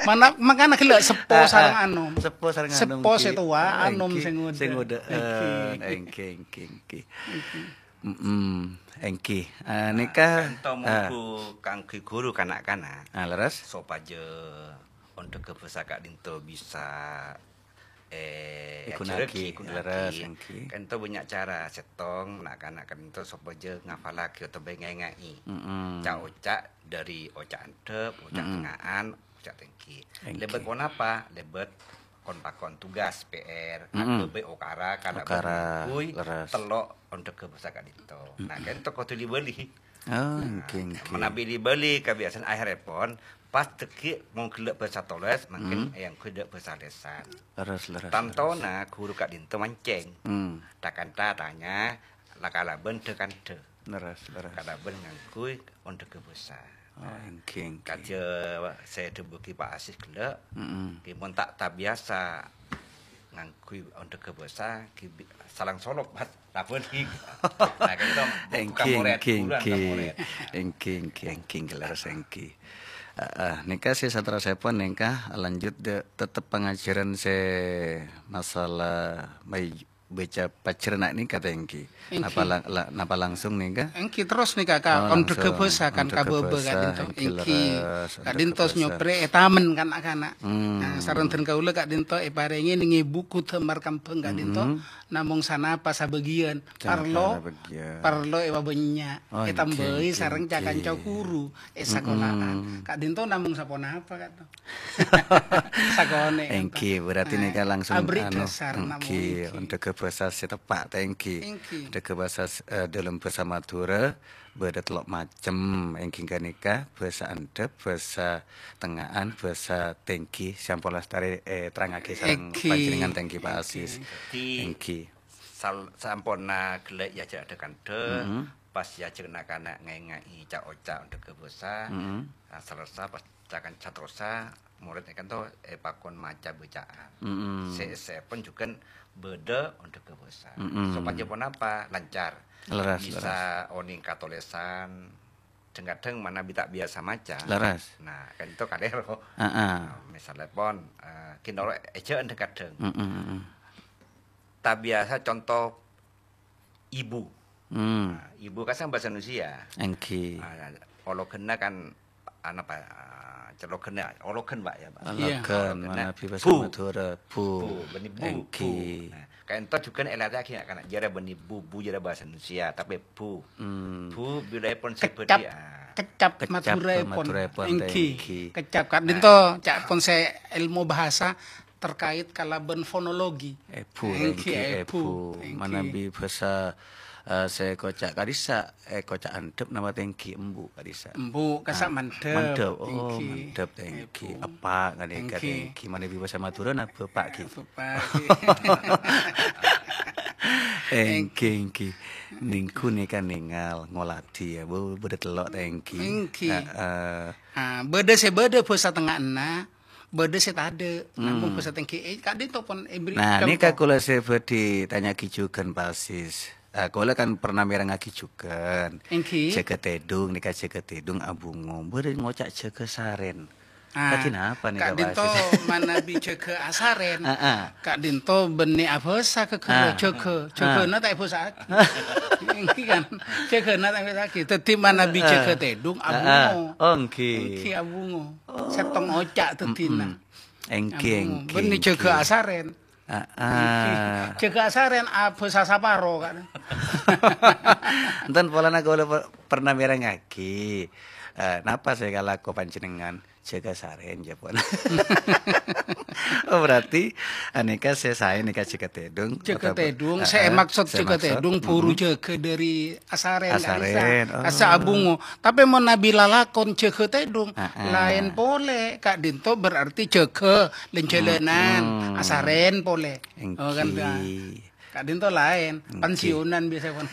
Mana, mangkana ghellâ' seppo Ah, ah. sareng anom. Seppo sareng anom, Seppo sè towa, ah, anom èngghi. Sè ngodâ. Sè ngodâ'ân. Èngghi. Èngghi, èngghi, èngghi. Mm-mm. Èngghi. Eh, nèka, Ento ah. Mongghu kaangghuy ghuru ka na'-kana'. Ah, leres. Sopajâ ondhâghâ bhâsa ka'dinto bisa, eh, Èghuna'aghi, èajhârraghi, èghuna'aghi. Leres, èngghi. Ka'dinto bânnya' cara. Sèttong, na'-kana' ka'dinto sopajâ ngafallaghi otabâ ngènga'è Mm-mm. ca'-oca' dhâri oca' andhâp, oca' Mm-mm. tengnga'an, oca' tèngghi. Èngghi. Lèbât ponapa? Lèbât kon-pakon tugas, P R, Mm-mm. aghâbây okara, kalabân Okara, kaangghuy leres. tello' ondhâghâ bhâsa ka'dinto. Nah, Mm-mm. ka'dinto kodhu li-bâli. Oh, Nah, èngghi, èngghi. manabi li-bâli kabiyasaan akhèrèpon, pas dhâggi' mon ghellâ' bhâsa tolès, mangkèn Mm. èangghuy dâ' bhâsa lèsan. Leres, leres, Tantona leres. ghuru ka'dinto mancèng. Mm. Tha-kantha tanya, la kalabân dhâ-kandhâ. Leres, leres. Kalabân ngangghuy ondhâghâ bhâsa. Oh, èngghi, èngghi. Kadhi sè èdhâbuwaghi Pak Asis ghellâ', Mm-mm. ghi mon ta' tabiyasa ngangghuy ondhâghâ bhâsa, ghi bi-, salang solop, Mas. Labân ghi. Nah, ka'dinto Èngghi, buka morèd, èngghi, bulan èngghi. ka morèd. Èngghi, èngghi, èngghi, leres èngghi. Heeh, nèka sè saterrossèpon nèka lanjut dâ-, tetep pangajhârân sè masalah mai-, bâca pajhârânna nèka ta' èngghi? Èngghi. Napa la-, la-, napa langsung nèka? Èngghi terros nèka ka Oh, ondhâghâ langsung. bhâsa kan Ondhâghâ ka bhâbhâ bhâsa, ka'dinto. èngghi, Èngghi. leres, Ka'dinto ondhâghâ bhâsa. nyoprè è tamèn kan na'-kana'. Hmm. Nah, sareng dân kaulâ ka'dinto èparèngè nèngè buku Dhâmar Kembhâng ka'dinto, Hmm. namong sanapa sabâgiyân. Sanapa Parlo, sabâgiyân. parlo èpabânnya', Oh, èngghi, ètambâi èngghi, sareng èngghi. ca-kanca ghuru è sakola'an. Mm-mm. Ka'dinto namong saponapa ka'dinto. Sakonè', Èngghi, berarti Nah, nèka langsung aberri' anu, dhâsar, èngghi, namong èngghi. ondhâghâ bhâsa sè teppa' ta' èngghi. Èngghi. Ondhâghâ bhâsa, eh, dâlem bhâsa Madhurâ bâdâ tello' macem, èngghi ghânèka bhâsa andhâp, bhâsa tengnga'an, bhâsa tèngghi, sè ampon lastarè, eh, èterrangaghi sareng Èngghi. panjhennengngan ta' èngghi, Pak Èngghi. Asis. Dâddhi, Èngghi. sal-, samponna ghellâ' èajhâr dhâ-kandhâ, Mm-mm. pas èajhâr na'-kana' ngènga'è ca'-oca' ondhâghâ bhâsa, Mm-mm. nah, salerressa pas ca-, kan-, saterrossa, morèd ka'dinto èpakon maca bâcaan. Mm-mm. Sè èssèpon jhughân bâdâ ondhâghâ bhâsa. Mm-mm. Sopajâ ponapa? Lancar. Leres, Bisa leres. onèng katolèsan, dhâng-kadhâng manabi ta' biyasa maca. Leres. Nah, ka'dinto kalèro. Heeh. Nah, misalèpon, eh, ghi noro' èjhâ'ân dhâng-kadhâng. Mm-mm, mm-mm. Ta' biyasa conto ibu. Hmm. Nah, ibu kan sareng bhâsa Indonesia. Èngghi. Ah, ologhânna kan, anapa, ah, cologhânna, ologhân, Pak, ya, Pak? Iya. Ologhân, Ologhânna manabi bhâsa bu. Madhurâ, bu. Bu, bânnè bu, Èngghi. bu. Nah, ka'dinto jhughân èlatè'aghi na'-kana', jârèya bânnè bu, bu jârèya bhâsa Indonesia, tapè bu. Hmm. Bu, bilâèpon sè Kecap, bâdhi, ah. kecap Kecap Madhurâèpon. Madhurâèpon, Èngghi. èngghi. Kecap, ka'dinto, Nah. ca'èpon sè èlmo bhâsa, terkait kalabân fonologi. Èbhu, Èngghi, èngghi, èbhu. èbhu. Èngghi. Manabi bhâsa, eh, sè èkoca' ka'dissa', èkoca' andhâp napa ta' èngghi, embu' ka'dissa'. Embu', kassa' Ah, mandhâp. mandhâp. Oh, Èngghi. mandhâp ta' èngghi. Èbhu. Eppa' ka'dinto Èngghi. ta' èngghi. Manabi bhâsa Madhurâ na bapa' ghi. Bapa' ghi. Èngghi, èngghi. Nèngghu nèka nèngal, ngoladhi ya. Bu-, bâdâ tello' ta' èngghi. Èngghi. Heeh. Ah, bâdâ sè bâdâ bhâsa tengnga'anna, bâdâ sè tadâ', namong Hmm. bhâsa tèngghi, eh, ka'dinto pon èbri Nah, nèka conto. kaulâ sè bhâdhi tanya'aghi jhughân, Pak Asis. Ah, kaulâ kan pernah mèrengngaghi jhughân. Èngghi. Jâgâ tèdung, nèka jâgâ tèdung abungo. Bâdâ ngoca' jâgâ sarèn. Ah, Kadhi napa nèka, Pak ka'dinto Asis? manabi jâgâ asarèn. Ah, ah. Ka'dinto bânnè abhâsa ka ghâllu Ah. jâgâ. Ah. Jâgâna ta' èbhâsa'aghi. Èngghi kan? Jâgâna ta' èbhâsa'aghi. Dâddhi manabi Ah. jâgâ tèdung, Ah, ah. abungo. Oh, èngghi. Èngghi abungo. Oh. Sèttong oca' dâddhina. Mm-mm. Èngghi, Abungo. èngghi, Bânnè jâgâ èngghi. asarèn. Ah, ah. Èngghi. Jâgâ asarèn abhâsa saparo, kan. Enten polana kaulâ per-, pernah mèrengngaghi. Eh, napa sè èkalako panjhennengngan? Jâgâ sarèn, jâ, pon. Oh, berarti, anèka sè saè nèka jâgâ tèdung, Jâgâ otabâ-, tèdung, heeh, sè maksud sè jâgâ maksud, tèdung, buru mm-mm. jâgâ dâri asarèn, Asarèn, oh. Asa abungo. Tapè mon nabi lalakon jâgâ tèdung, Heeh. laèn polè. Ka'dinto berarti jâgâ lèn-jhâlânan, Mm-mm. asarèn polè. Oh, kan, Èngghi. Ka'dinto laèn, Èngghi. pensiunan biasa, pon.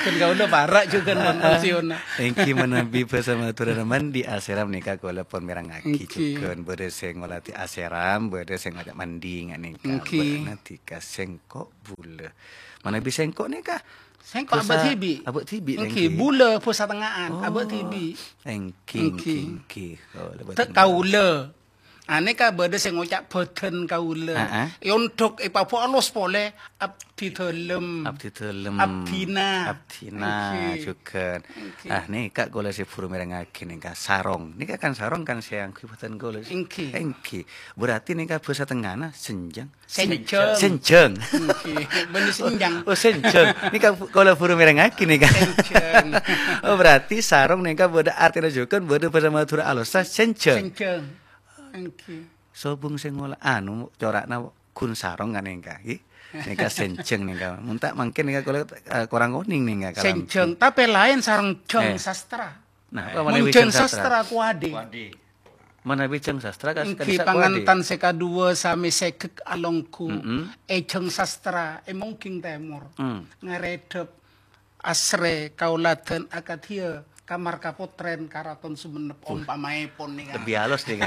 Kan kaulâ para' jhughân, pon, pensiunan. Èngghi manabi bhâsa Madhurâna mandi asèram nèka kaulâ pon mèrengngaghi Èngghi. jhughân. Bâdâ sè ngolatè asèram, bâdâ sè ngoca' mandi nga' nèka. Èngghi. Bâdâ nèka sèngko' bulâ. Manabi sèngko' nèka Sèngko' bhâsa abâ' dhibi'. abâ' dhibi, Èngghi, èngghi. bulâ bhâsa tengnga'an, abâ' Oh. dhibi'. Èngghi, Èngghi. èngghi, èngghi. Kaulâ bhâdhân Te-, kaulâ. Anèka bâdâ sè ngoca' bhâdhân kaulâ. Heeh. Èondhuk èpabâ' alos polè, abdhi dhâlem. Abdhi dhâlem. Abdhina. Abdhina, Èngghi. jhughân. Èngghi. Ah, nèka kaulâ sè buru mèrengngaghi nèka sarong. Nèka kan sarong kan sè angghuy bhâdhân kaulâ. Èngghi. Èngghi. Berarti nèka bhâsa tengnga'na sènjhâng. Sènjhâng. Sènjhâng. Èngghi. Bânnè sènjhâng. Oh, sènjhâng. Nèka kaulâ buru mèrengngaghi nèka. Sènjhâng. Oh, berarti sarong nèka bâdâ artèna jhughân, bâdâ bhâsa Madhurâ alossa sènjhâng. Sènjhâng. Èngghi. Sobung sè ngola, anu, cora'na ghun sarong kan nèka, ghi? Nèka sènjhâng nèka. Mon ta' mangkèn nèka kaulâ, eh, korang onèng nèka kalam. Sènjhâng, tapè laèn sareng jhâng Eh. sastra. Nah, apa Mon manabi jhâng jhâng sastra? sastra kuadè. Kuadè. Manabi jhâng sastra kas-, Èngghi kadhisa kuadè. pangantan sè kaduwâ samè sègek alongghu. Mm-mm. È jhâng sastra, è Mongging Tèmor. Mm. Ngarèdhep asrè kaulâdhân akadhiyâ kamar kapotrèn Karaton Sumenep Uh. ompamaèpon nèka. Lebbi alus nèka.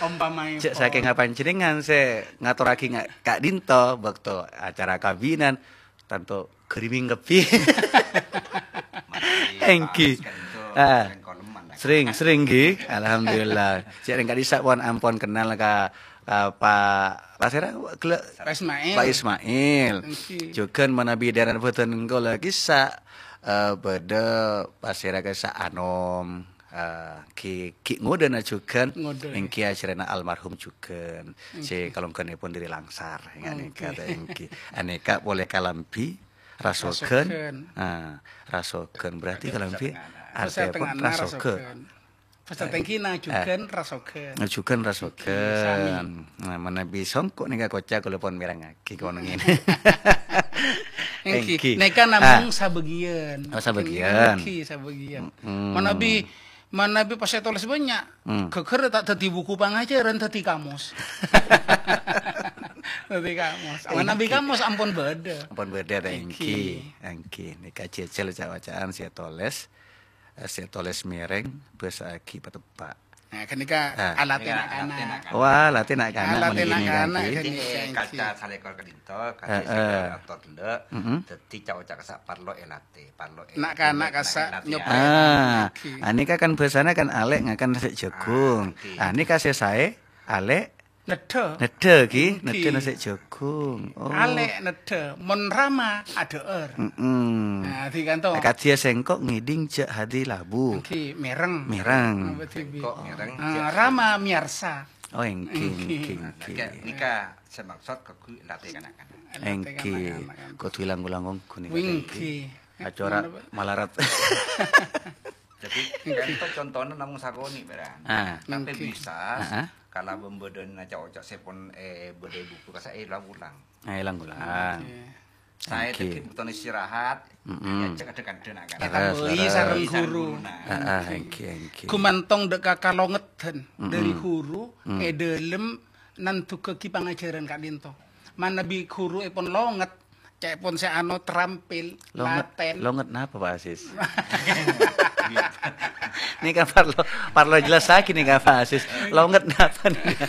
Ompamaèpon. Cè' sakènga panjhennengngan sè ngatorraghi nga-, ka'dinto bâkto acara kabinan, tanto griming kabbhi. Mati, Èngghi. Pas, kan itu, Ah. sering koleman, kan? Sering, sering, ghi. Alhamdulillah. Cè' rèng ka'dhisa pon ampon kennal ka, ka Pa', Pa' sèra, gellâ'? Pak Ismail. Pak Ismail. Èngghi. Jhughân manabi dârâna bhâdhân kaulâ ka'dhisa, eh, bâdâ Pa' sèra ka'dhisa anom, eh, ghi-, ghi' ngodâna jhughân, Ngodâ. èngghi ajhârânna almarhum jhughân. Sè Èngghi. kalongghanèpon dâri Langsar, èngghi. Èngghi. Anèka polè kalambhi, rasoghân. Rasoghân. Ah, rasoghân. Berarti kalambhi Setengahna. artèpon Setengahna rasoghân. rasoghân. Pas Eh, tèngghina eh. jhughân rasoghân. Jhughân rasoghân. Sami. Nah, manabi songko' nèka koca' kaulâ pon mèrengngaghi kono ngènè. Èngghi. Èngghi. Nèka namong Ah. sabâgiyân. Oh, sabâgiyân. Èngghi, sabâgiyân. Mm. Manabi, manabi pas ètolès bânnya', Hmm. ghâghâr ta' dhâddhi buku pangajhârân, dhâddhi kamos. Dhâddhi kamos. Èngghi. Manabi kamos ampon bâdâ. Ampon bâdâ, ta, Èngghi. èngghi. Èngghi. Nèka jhâjhâl ca'-oca'an sè ètolès. Eh, sè tolès mèrèng, bâsa'aghi pateppa'. Nah, ghânèka Ah. alatè Iyâ, na'-kana'. alatè na'-kana'. Wah, alatè na'-kana' Alatè mangkèn na'-kana' nèka, ghânèka, ngghi. Èngghi. Kaca salèkor ka'dinto, kaca Heeh. salèkor ator ghellâ', Mm-mm. dhâddhi ca'-oca' ka'issa' parlo èlatè, parlo è-, Na'-kana' èlatè, ka'issa' èlatè, nyoba. ya. Ah, Ngghi. anèka kan bhâsana kan alè' ngakan nasè' jhâghung. Ah, ngghi. Ah, nèka sè saè, alè' Neddhâ. Neddhâ, ghi? Ngghi. Neddhâ nasè' jhâghung. Oh. Alè' neddhâ, mon rama adhâ'âr. Mm-mm. Nah, dhi kanto. Akadhi sèngko' ngèdhing jhâ' hadi labu. Ngghi, mèreng. Mèreng. Apa dhibi'? Sèngko' mèreng, Ah, jhâ' rama miyarsa. Oh, èngghi, Ngghi. èngghi, Nah, èngghi. nèka, nèka sè maksod kaangghuy latè kana'-kana'. Latè Èngghi. kana'-kana'. Kodhu ilang-ulang ongghu nèka, Winggi. èngghi. Acora Napa? malarat. Jadi, kan itu contohnya namung sakonè', Bran. Ah. Tapi Ngghi. bisa, Ah, ah. kalaban bâdâna ca'-oca' sè pon, eh, bâdâ è buku ka'issa' èlang-ulang. Ah, èlang-ulang. Ngghi. Saè Ngghi. dhâggi' bhuto istirahat, Mm-mm. ajhâk adhâ-kadhâ na'-kana'. Leres, Ètambâi leres. sareng Sareng ghuru. ghuruna. Ah, ah, Ngghi. èngghi, èngghi. Gumantong dâ' ka kalongedhân Mm-mm. dâri ghuru Mm. è dâlem nandhughâghi pangajhârân ka'dinto. Manabi ghuru èpon longet, ca'èpon sè ano terampil, Longet, laten. longet napa, Pak Asis? Nèka parlo, parlo jelasaghi nèka, Pak Asis. Longet napa nèka?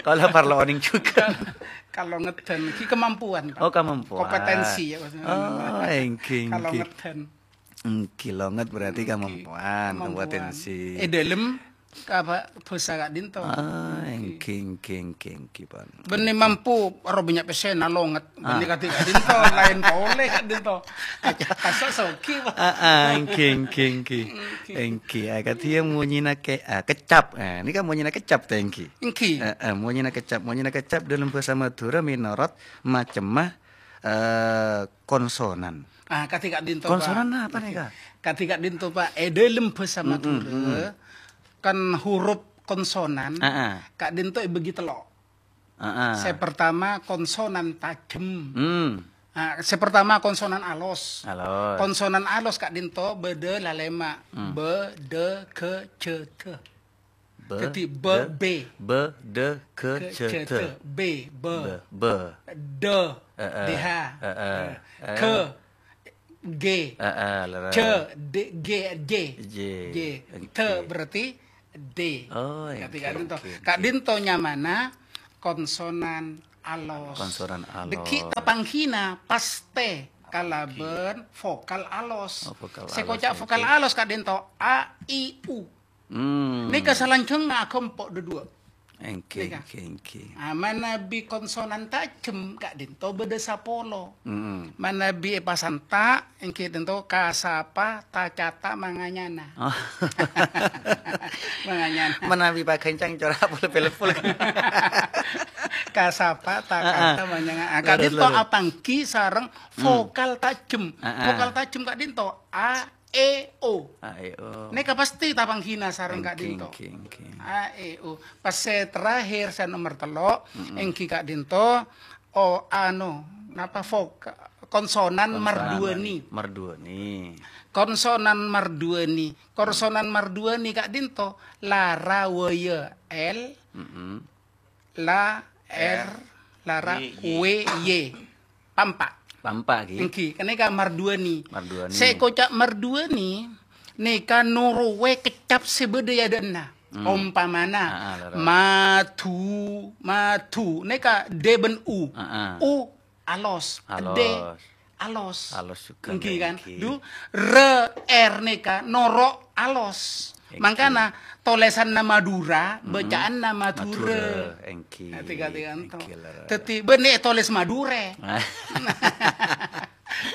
Kaulâ parlo onèng jhughân. Kalongedhân, ghi kemampuan, Pak. Oh, kemampuan. Kompetensi, ya, maksudnya. Oh, èngghi, èngghi. Kalongedhân. Èngghi, longet berarti Èngghi. kemampuan, Kemampuan. kompetensi. È dâlem ka bhâsa ka'dinto. Ah, Èngghi. èngghi, èngghi, èngghi, èngghi, pon. Bânnè mampu, aro bânnya' pèssèna longet. Bânnè Ah. kadhi ka'dinto, laèn polè ka'dinto. Kassa' soghi, Pak. Ah, ah, èngghi, èngghi, èngghi. Èngghi. Èngghi, ah, kadhi monyèna ke-, ah, kecap. Eh, nèka monyèna kecap ta, èngghi? Èngghi. Eh, eh, monyèna kecap, monyèna kecap dâlem bhâsa Madhurâ mènorot macemma, Eh, konsonan. Ah, kadhi ka'dhinto, Pak. Konsonan apa nèka? Kadhi ka'dhinto, Pak. È dhâlem bhâsa Madhurâ, kan huruf konsonan Heeh. ka'dhinto èbâgi tello'. Heeh. Sè pertama konsonan tajem. Hmm. Ah, sè pertama konsonan alos. Alos. Konsonan alos ka'dhinto bâdâ lalèma'. Hmm. Bâ, dâ, ghâ, jâ, dâ. Bâ, Dhâddhi bâ, dâ, bê. Bâ, dâ, ghâ, Ghâ, jâ, jâ, dâ. dâ. Bê, bâ. Bâ, bâ. Dâ. Heeh. Dhâ. Heeh. Ghâ. Ghê. Heeh, lerres. Jâ, dê, ghê, jê. Jê. Jê. Oke. Dhâ berarti dê. Oh, Kadhi oke, ka'dhinto. Oke, oke. Ka'dhinto nyamana konsonan alos. Konsonan alos. Dhâggi' tapangghina pastè kalabân vokal alos. Oh, vokal Sè alos, koca' oke. vokal alos ka'dhinto a, i, u. Hmm. Nèka salanjhângnga akompo' dhâduwâ'. Èngghi, Nèka. èngghi, èngghi. Ah, manabi konsonan tajem ka'dhinto bâdâ sapolo. Mm-mm. Manabi èpasanta', èngghi tanto kasapa, tacata, manganyana. Oh. Manganyana. Manabi pagancang cora' pol-, pol-, pol-. Kasapa, takata, Heeh. manganyana. Ah, Lerres, ka'dhinto lerres. apangghi sareng Hmm. vokal tajem. Heeh. Vokal tajem ka'dhinto a, e, o. A, e, o. Nèka pastè tapangghina sareng Èngghi, ka'dhinto. èngghi, èngghi. A, e, o. Pas sè terakhir, sè nomer tello', Mm-mm. èngghi ka'dhinto, o, ano, napa vok-, konsonan Konsonan marduwâni. marduwâni. Konsonan marduwâni. Konsonan marduwâni ka'dhinto, la, ra, wa, ya, el, Mm-mm. La, er, Er, la, ra, ye, ye. we, ye. Pampa'. Pampa', ghi. Èngghi, ka'nèka marduwâni. Marduwâni. Sè koca' marduwâni, nèka noro'è keccap sè bâdâ è adâ'na. Hmm. Ompamana, Ah, ah, lerres. madu, madu. Nèka dê bân u. Ah, ah. U alos. Alos. Dê alos. Alos jhughân, Èngghi, kan? èngghi. Du, re, er nèka noro' alos. Èngghi. Mangkana tolèsanna Madhurâ, Mm-mm. bâcaanna Madhurâ. Madhurâ, èngghi. Èngghi, èngghi, lerres. Dhâddhi, bânnè tolès Madhurâ.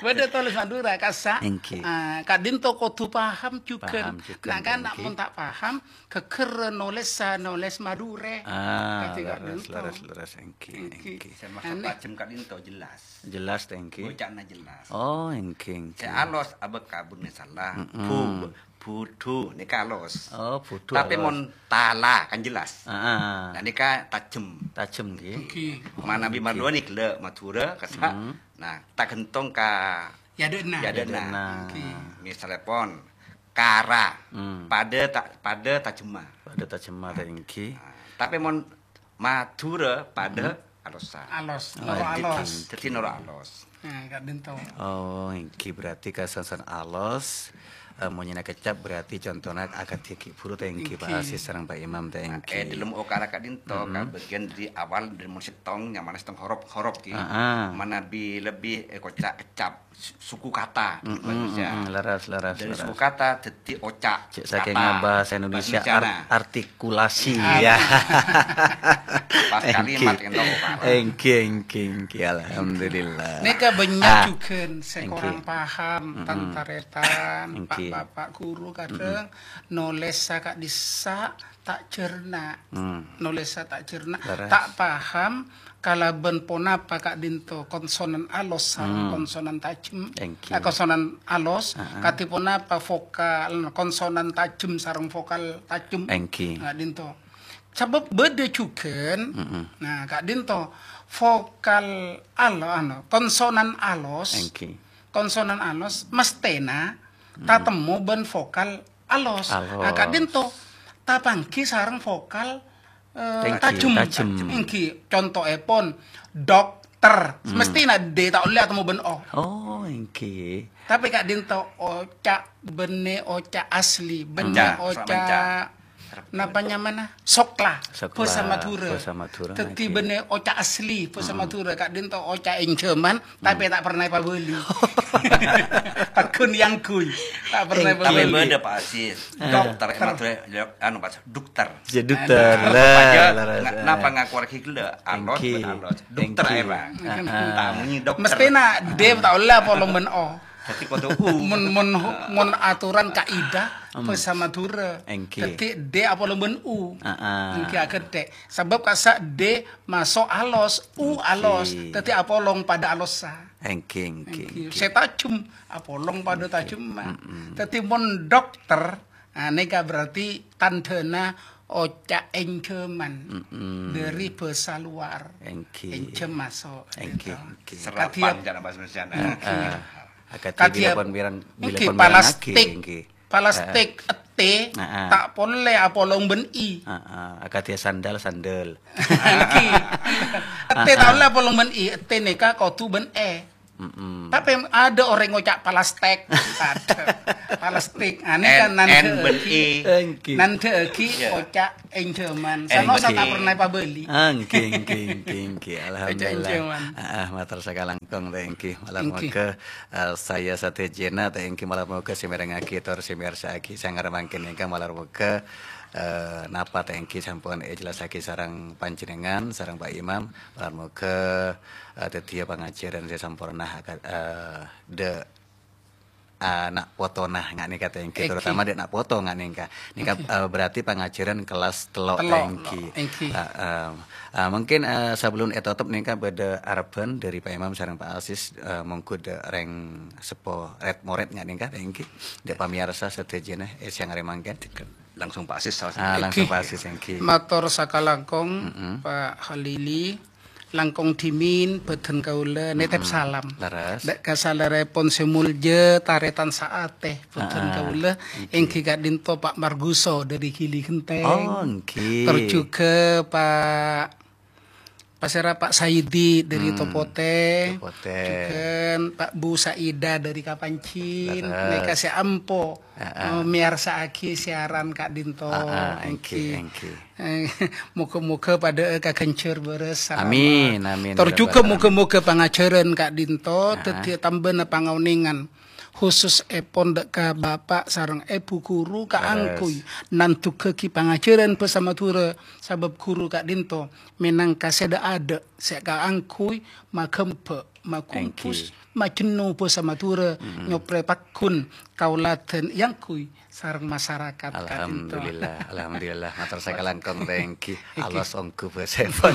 Bâdâ tolès Madhurâ, kassa'. Èngghi. Ah, ka'dhinto kodhu paham jhughân. Paham jhughân, Nah, kan, èngghi. mon ta' paham, ghâgghâr nolèssa, nolès Madhurâ. Ah, Dhâddhi lerres, ka'dhinto. lerres, lerres, èngghi, Èngghi. èngghi. Sè maksod Anè. tajem ka'dhinto jelas. Jelas, èngghi. Bâcaanna jelas. Oh, èngghi, èngghi. Sè alos abâ' kabunna sala. Mm-mm. Bu-, budhu, nèka alos. Oh, budhu Tapè alos. mon tala, kan jelas. Ah, ah. Nah, nèka tajem. Tajem, ghi. Èngghi. Manabi Èngghi. marduwâni ghellâ' Madhurâ, kassa'. Mm. Nah, ta' ghântong ka È adâ'na. È adâ'na. È adâ'na. Èngghi. Misalèpon, kara, Mm. padâ ta-, padâ tajemma. Padâ tajemma, ta' èngghi. Nah, tapè mon Madhurâ padâ Mm-hmm. alossa. Alos, Oh, noro' èngghi, alos. èngghi. Dhâddhi noro' alos. Nah, ka'dhinto. Oh, èngghi berarti kasansan alos, eh, monyèna keccap berarti contona akadhi ghi' buru ta' èngghi, Pak Èngghi. Aziz sareng Pak Imam ta' Nah, èngghi. è dhâlem okara ka'dhinto, Mm-mm. ka bâgiyân dâri awal dâri mon sèttong, nyamana sèttong horop, horop ghi. Ah, ah. Manabi lebbi èkoca' keccap. su-, suku kata Mm-mm, bahasa Indonesia. mm-mm, leres, leres, Dari leres. suku kata dhâddhi oca'. Cek saking Kata. bahasa Indonesia, Bahasa Indonesia, ar-, nah. artikulasi, Ah. ya. Pas kalimat Èngghi. Èngghi, èngghi, èngghi, alhamdulillah. Nèka bânnya' Ah. jhughân sè Èngghi. korang paham, Mm-mm. tan-tarètan, Èngghi. pak-bapak guru kadhâng Mm-mm. nolèssa ka'dhissa' ta' jhârna. Hmm. Nolèssa ta' jhârna, Leres. ta' paham kalabân ponapa ka'dhinto konsonan alos sareng Hmm. konsonan tajem. Èngghi. Eh, konsonan alos, Heeh. kadhi ponapa vokal, konsonan tajem sareng vokal tajem. Èngghi. Ka'dhinto. Sabâb bâdâ jhughân, Mm-mm. nah, ka'dhinto vokal alo-, ano, konsonan alos, Èngghi. konsonan alos mesthèna Mm-mm. tatemmo bân vokal alos. Alos. Ah, ka'dhinto tapangghi sareng vokal, eh, Èngghi, tajem. tajem. Èngghi, contoèpon, dokter. Hmm. Mesthèna D ta' ollè atemmo bân O. Oh, èngghi. Tapè ka'dhinto oca' bânnè oca' asli, bânnè Menca, oca' menca. napa nyamana? Sokla, Sokla, bhâsa Madhurâ. bhâsa Madhurâ, Dhâddhi èngghi. bânnè oca' asli, bhâsa Hmm. Madhurâ. Ka'dhinto oca' ènjhâman, tapè ta' pernah èpabâli. Paghun yangguy. Ta' pernah Èngghi. Tapè èpabâli. bâdâ, Pak Aziz. Eh. Dokter, Dokter. Madhurâ, anu, Pak, dokter. Ya, dokter. Nah, Lah, Bapak, lah, napa ngaku lagi gila? Alos, Èngghi. alos. Dokter, Èngghi. Pak. Ah, ah. Tak munyi dokter. Mesthèna D ta' ollè apolong bân O. Dhâddhi kodhu U. Mon, mon, mon aturan kaidah Hmm. bhâsa Madhurâ. Èngghi. Dhâddhi D apolong bân U. Ah, ah. Èngghi aghâdhè'. Sabâb kassa' D maso' alos, U Èngghi. alos. Dhâddhi apolong padâ alossa. Èngghi, èngghi, èngghi. Sè tajem, apolong padâ tajem, Mak. Mm-mm. Dhâddhi, mon dokter, ah, nèka berarti tandhâna oca' ènjhâman. Mm-mm. Dâri bhâsa luar. Èngghi. Ènjhâm maso', èngghi, gitu. Èngghi. Serapan, kadhi, cara bahasa Indonesia. Èngghi. Ah, ah. Akadhi kadhi bilâ pon mirang, bilâ èngghi, pon mirang palastik. Èngghi. Palastik, ah, ah. Ètè, ah, ah, ta' polè apolong bân i. Ah, ah. Akadhi sandal, sandal. Èngghi. Ètè ta' ollè apolong bân i, ètè nèka kodhu bân è. Mm-mm. Tapè adâ' orèng ngoca' palastik. Adâ'. Palastik. Anè kan N, N bân nandhâ'aghi. I. Èngghi. Nandhâ'aghi, iya, oca' ènjhâman. Èngghi. Sama sata pernah pabâli. Èngghi, èngghi, èngghi, èngghi. Oca' alhamdulillah. Ènjhâman. Ah, ah, mator sakalangkong, èngghi. Malar, èngghi, moghâ, eh, saya sadhâjâna, èngghi, malar moghâ sè mèrengngaghi tor sè mèyarsa'aghi sanggar mangkèn èngkang malar moghâ, eh, napa èngghi sampun èjellassaghi sareng panjhennengngan, sareng Pak Imam. Malar moghâ, eh, dhâddhiyâ pangajhârân sè samporna, aka-, eh, dâ', eh, na' potona nga' nèka èngghi, èngghi, terutama dâ' na' poto nga' nèka. Nèka, èngghi, eh, berarti pangajhârân kellas tello', tello', èngghi. Èngghi. Eh, eh, eh, mungkin, eh, sebelum ètotop nèka bâdâ arebbhân dâri Pak Imam sareng Pak Asis, eh, mongghu dâ' rèng seppo red-mored nga' nèka èngghi. Dâ' pamèyarsa sadhâjâna, eh, sèyang arè mangkèn. Langsung Pak Asis, saos. Ah, langsung èngghi. Pak Asis, èngghi. Mator sakalangkong, mm-mm, Pak Halili, langkong dhimèn bhâdhân kaulâ nètèp, mm-mm, salam. Leres. Dâ' ka salèrèpon sè molja, tarètan saatè bhâdhân, ah, ah, kaulâ, èngghi, èngghi ka'dinto Pak Marguso dâri Gili Genteng. Oh, èngghi. Tor jhughân Pak Pasèra Pak Saidi dâri, hmm, Topotè, Topotè. Jhughân Pak Bu Saida dâri Kapanchin, leres, nèka sè ampo, heeh, eh, mèyarsa'aghi siaran ka'dinto. Heeh, èngghi, èngghi. Èngghi. Eh, moghâ-moghâ padâ'â kaghânjhâr bârâs salama. Amin, amin, ya rabbal alamin. Tor jhughân moghâ-moghâ pangajhârân ka'dinto, heeh, dhâddhiyâ tambâna pangaonèngan. Khususèpon dâ' ka Bapa' sareng Èbhu Ghuru kaangghuy, leres, nandhughâghi pangajhârân bhâsa Madhurâ, sabâb ghuru ka'dinto mènangka sè dâ'-adâ' sè kaangghuy maghâmbhâ', maghungkus, èngghi, majenno bhâsa Madhurâ, mm-mm, nyoprè pagghun kaulâdhân èangghuy sareng masarakat ka'dinto. Alhamdulillah, alhamdulillah. Mator sakalangkong, èngghi. Èngghi. Alos ongghu bhâsaèpon.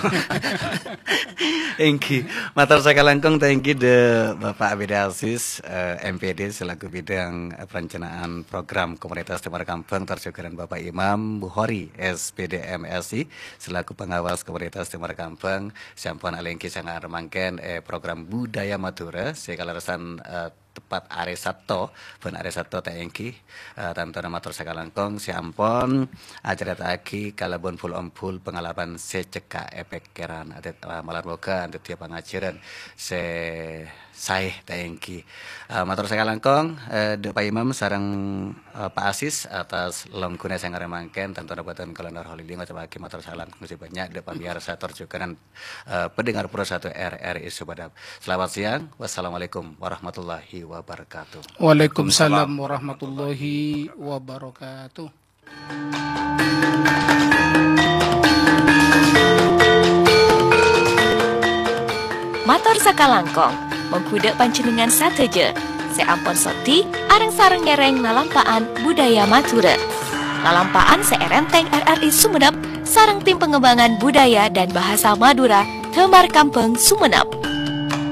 Èngghi. Mator sakalangkong, èngghi dâ' Bapak Abed Aziz, eh, M P D selaku bidang, eh, perencanaan program komunitas Timur Kambang, tor jhughân Bapak Imam Bukhari, S P D M S I, selaku pengawas komunitas Timur Kambang, sè ampon alèngghi sanggar mangkèn, eh, program Budaya Madhurâ, sè kalerressan, eh, tepat arè Sabtu, bân arè Sabtu ta' èngghi, eh, tantona mator sakalangkong sè ampon acarèta'aghi kalabân bul-ombul pangalaman sè cekka' è pèkkèran. Adâ', eh, malar moghâ dhâddhiyâ pangajhârân sè saè ta' èngghi. Eh, mator sakalangkong, eh, dâ' Pak Imam sareng, eh, Pak Asis atas longghuna sanggar mangkèn, tantona bhâdhân kaulâ Nur Kholili ngocappaghi mator sakalangkong sè bânnya' dâ' pamèyarsa tor jhughân eh, pendengar Pro satu R R I Sumenep. Selamat siang. Wassalamualaikum warahmatullahi wabarakatuh. Waalaikumsalam warahmatullahi wabarakatuh. Mator sakalangkong, mongghu dâ' panjhennengngan sadhâjâ sè ampon soddhi areng-sareng ngèrèng lalampa'an budaya Madhurâ. Lalampa'an sè èrèntèng R R I Sumenep sareng tim pengembangan budaya dan bahasa Madura Damar Kambang Sumenep.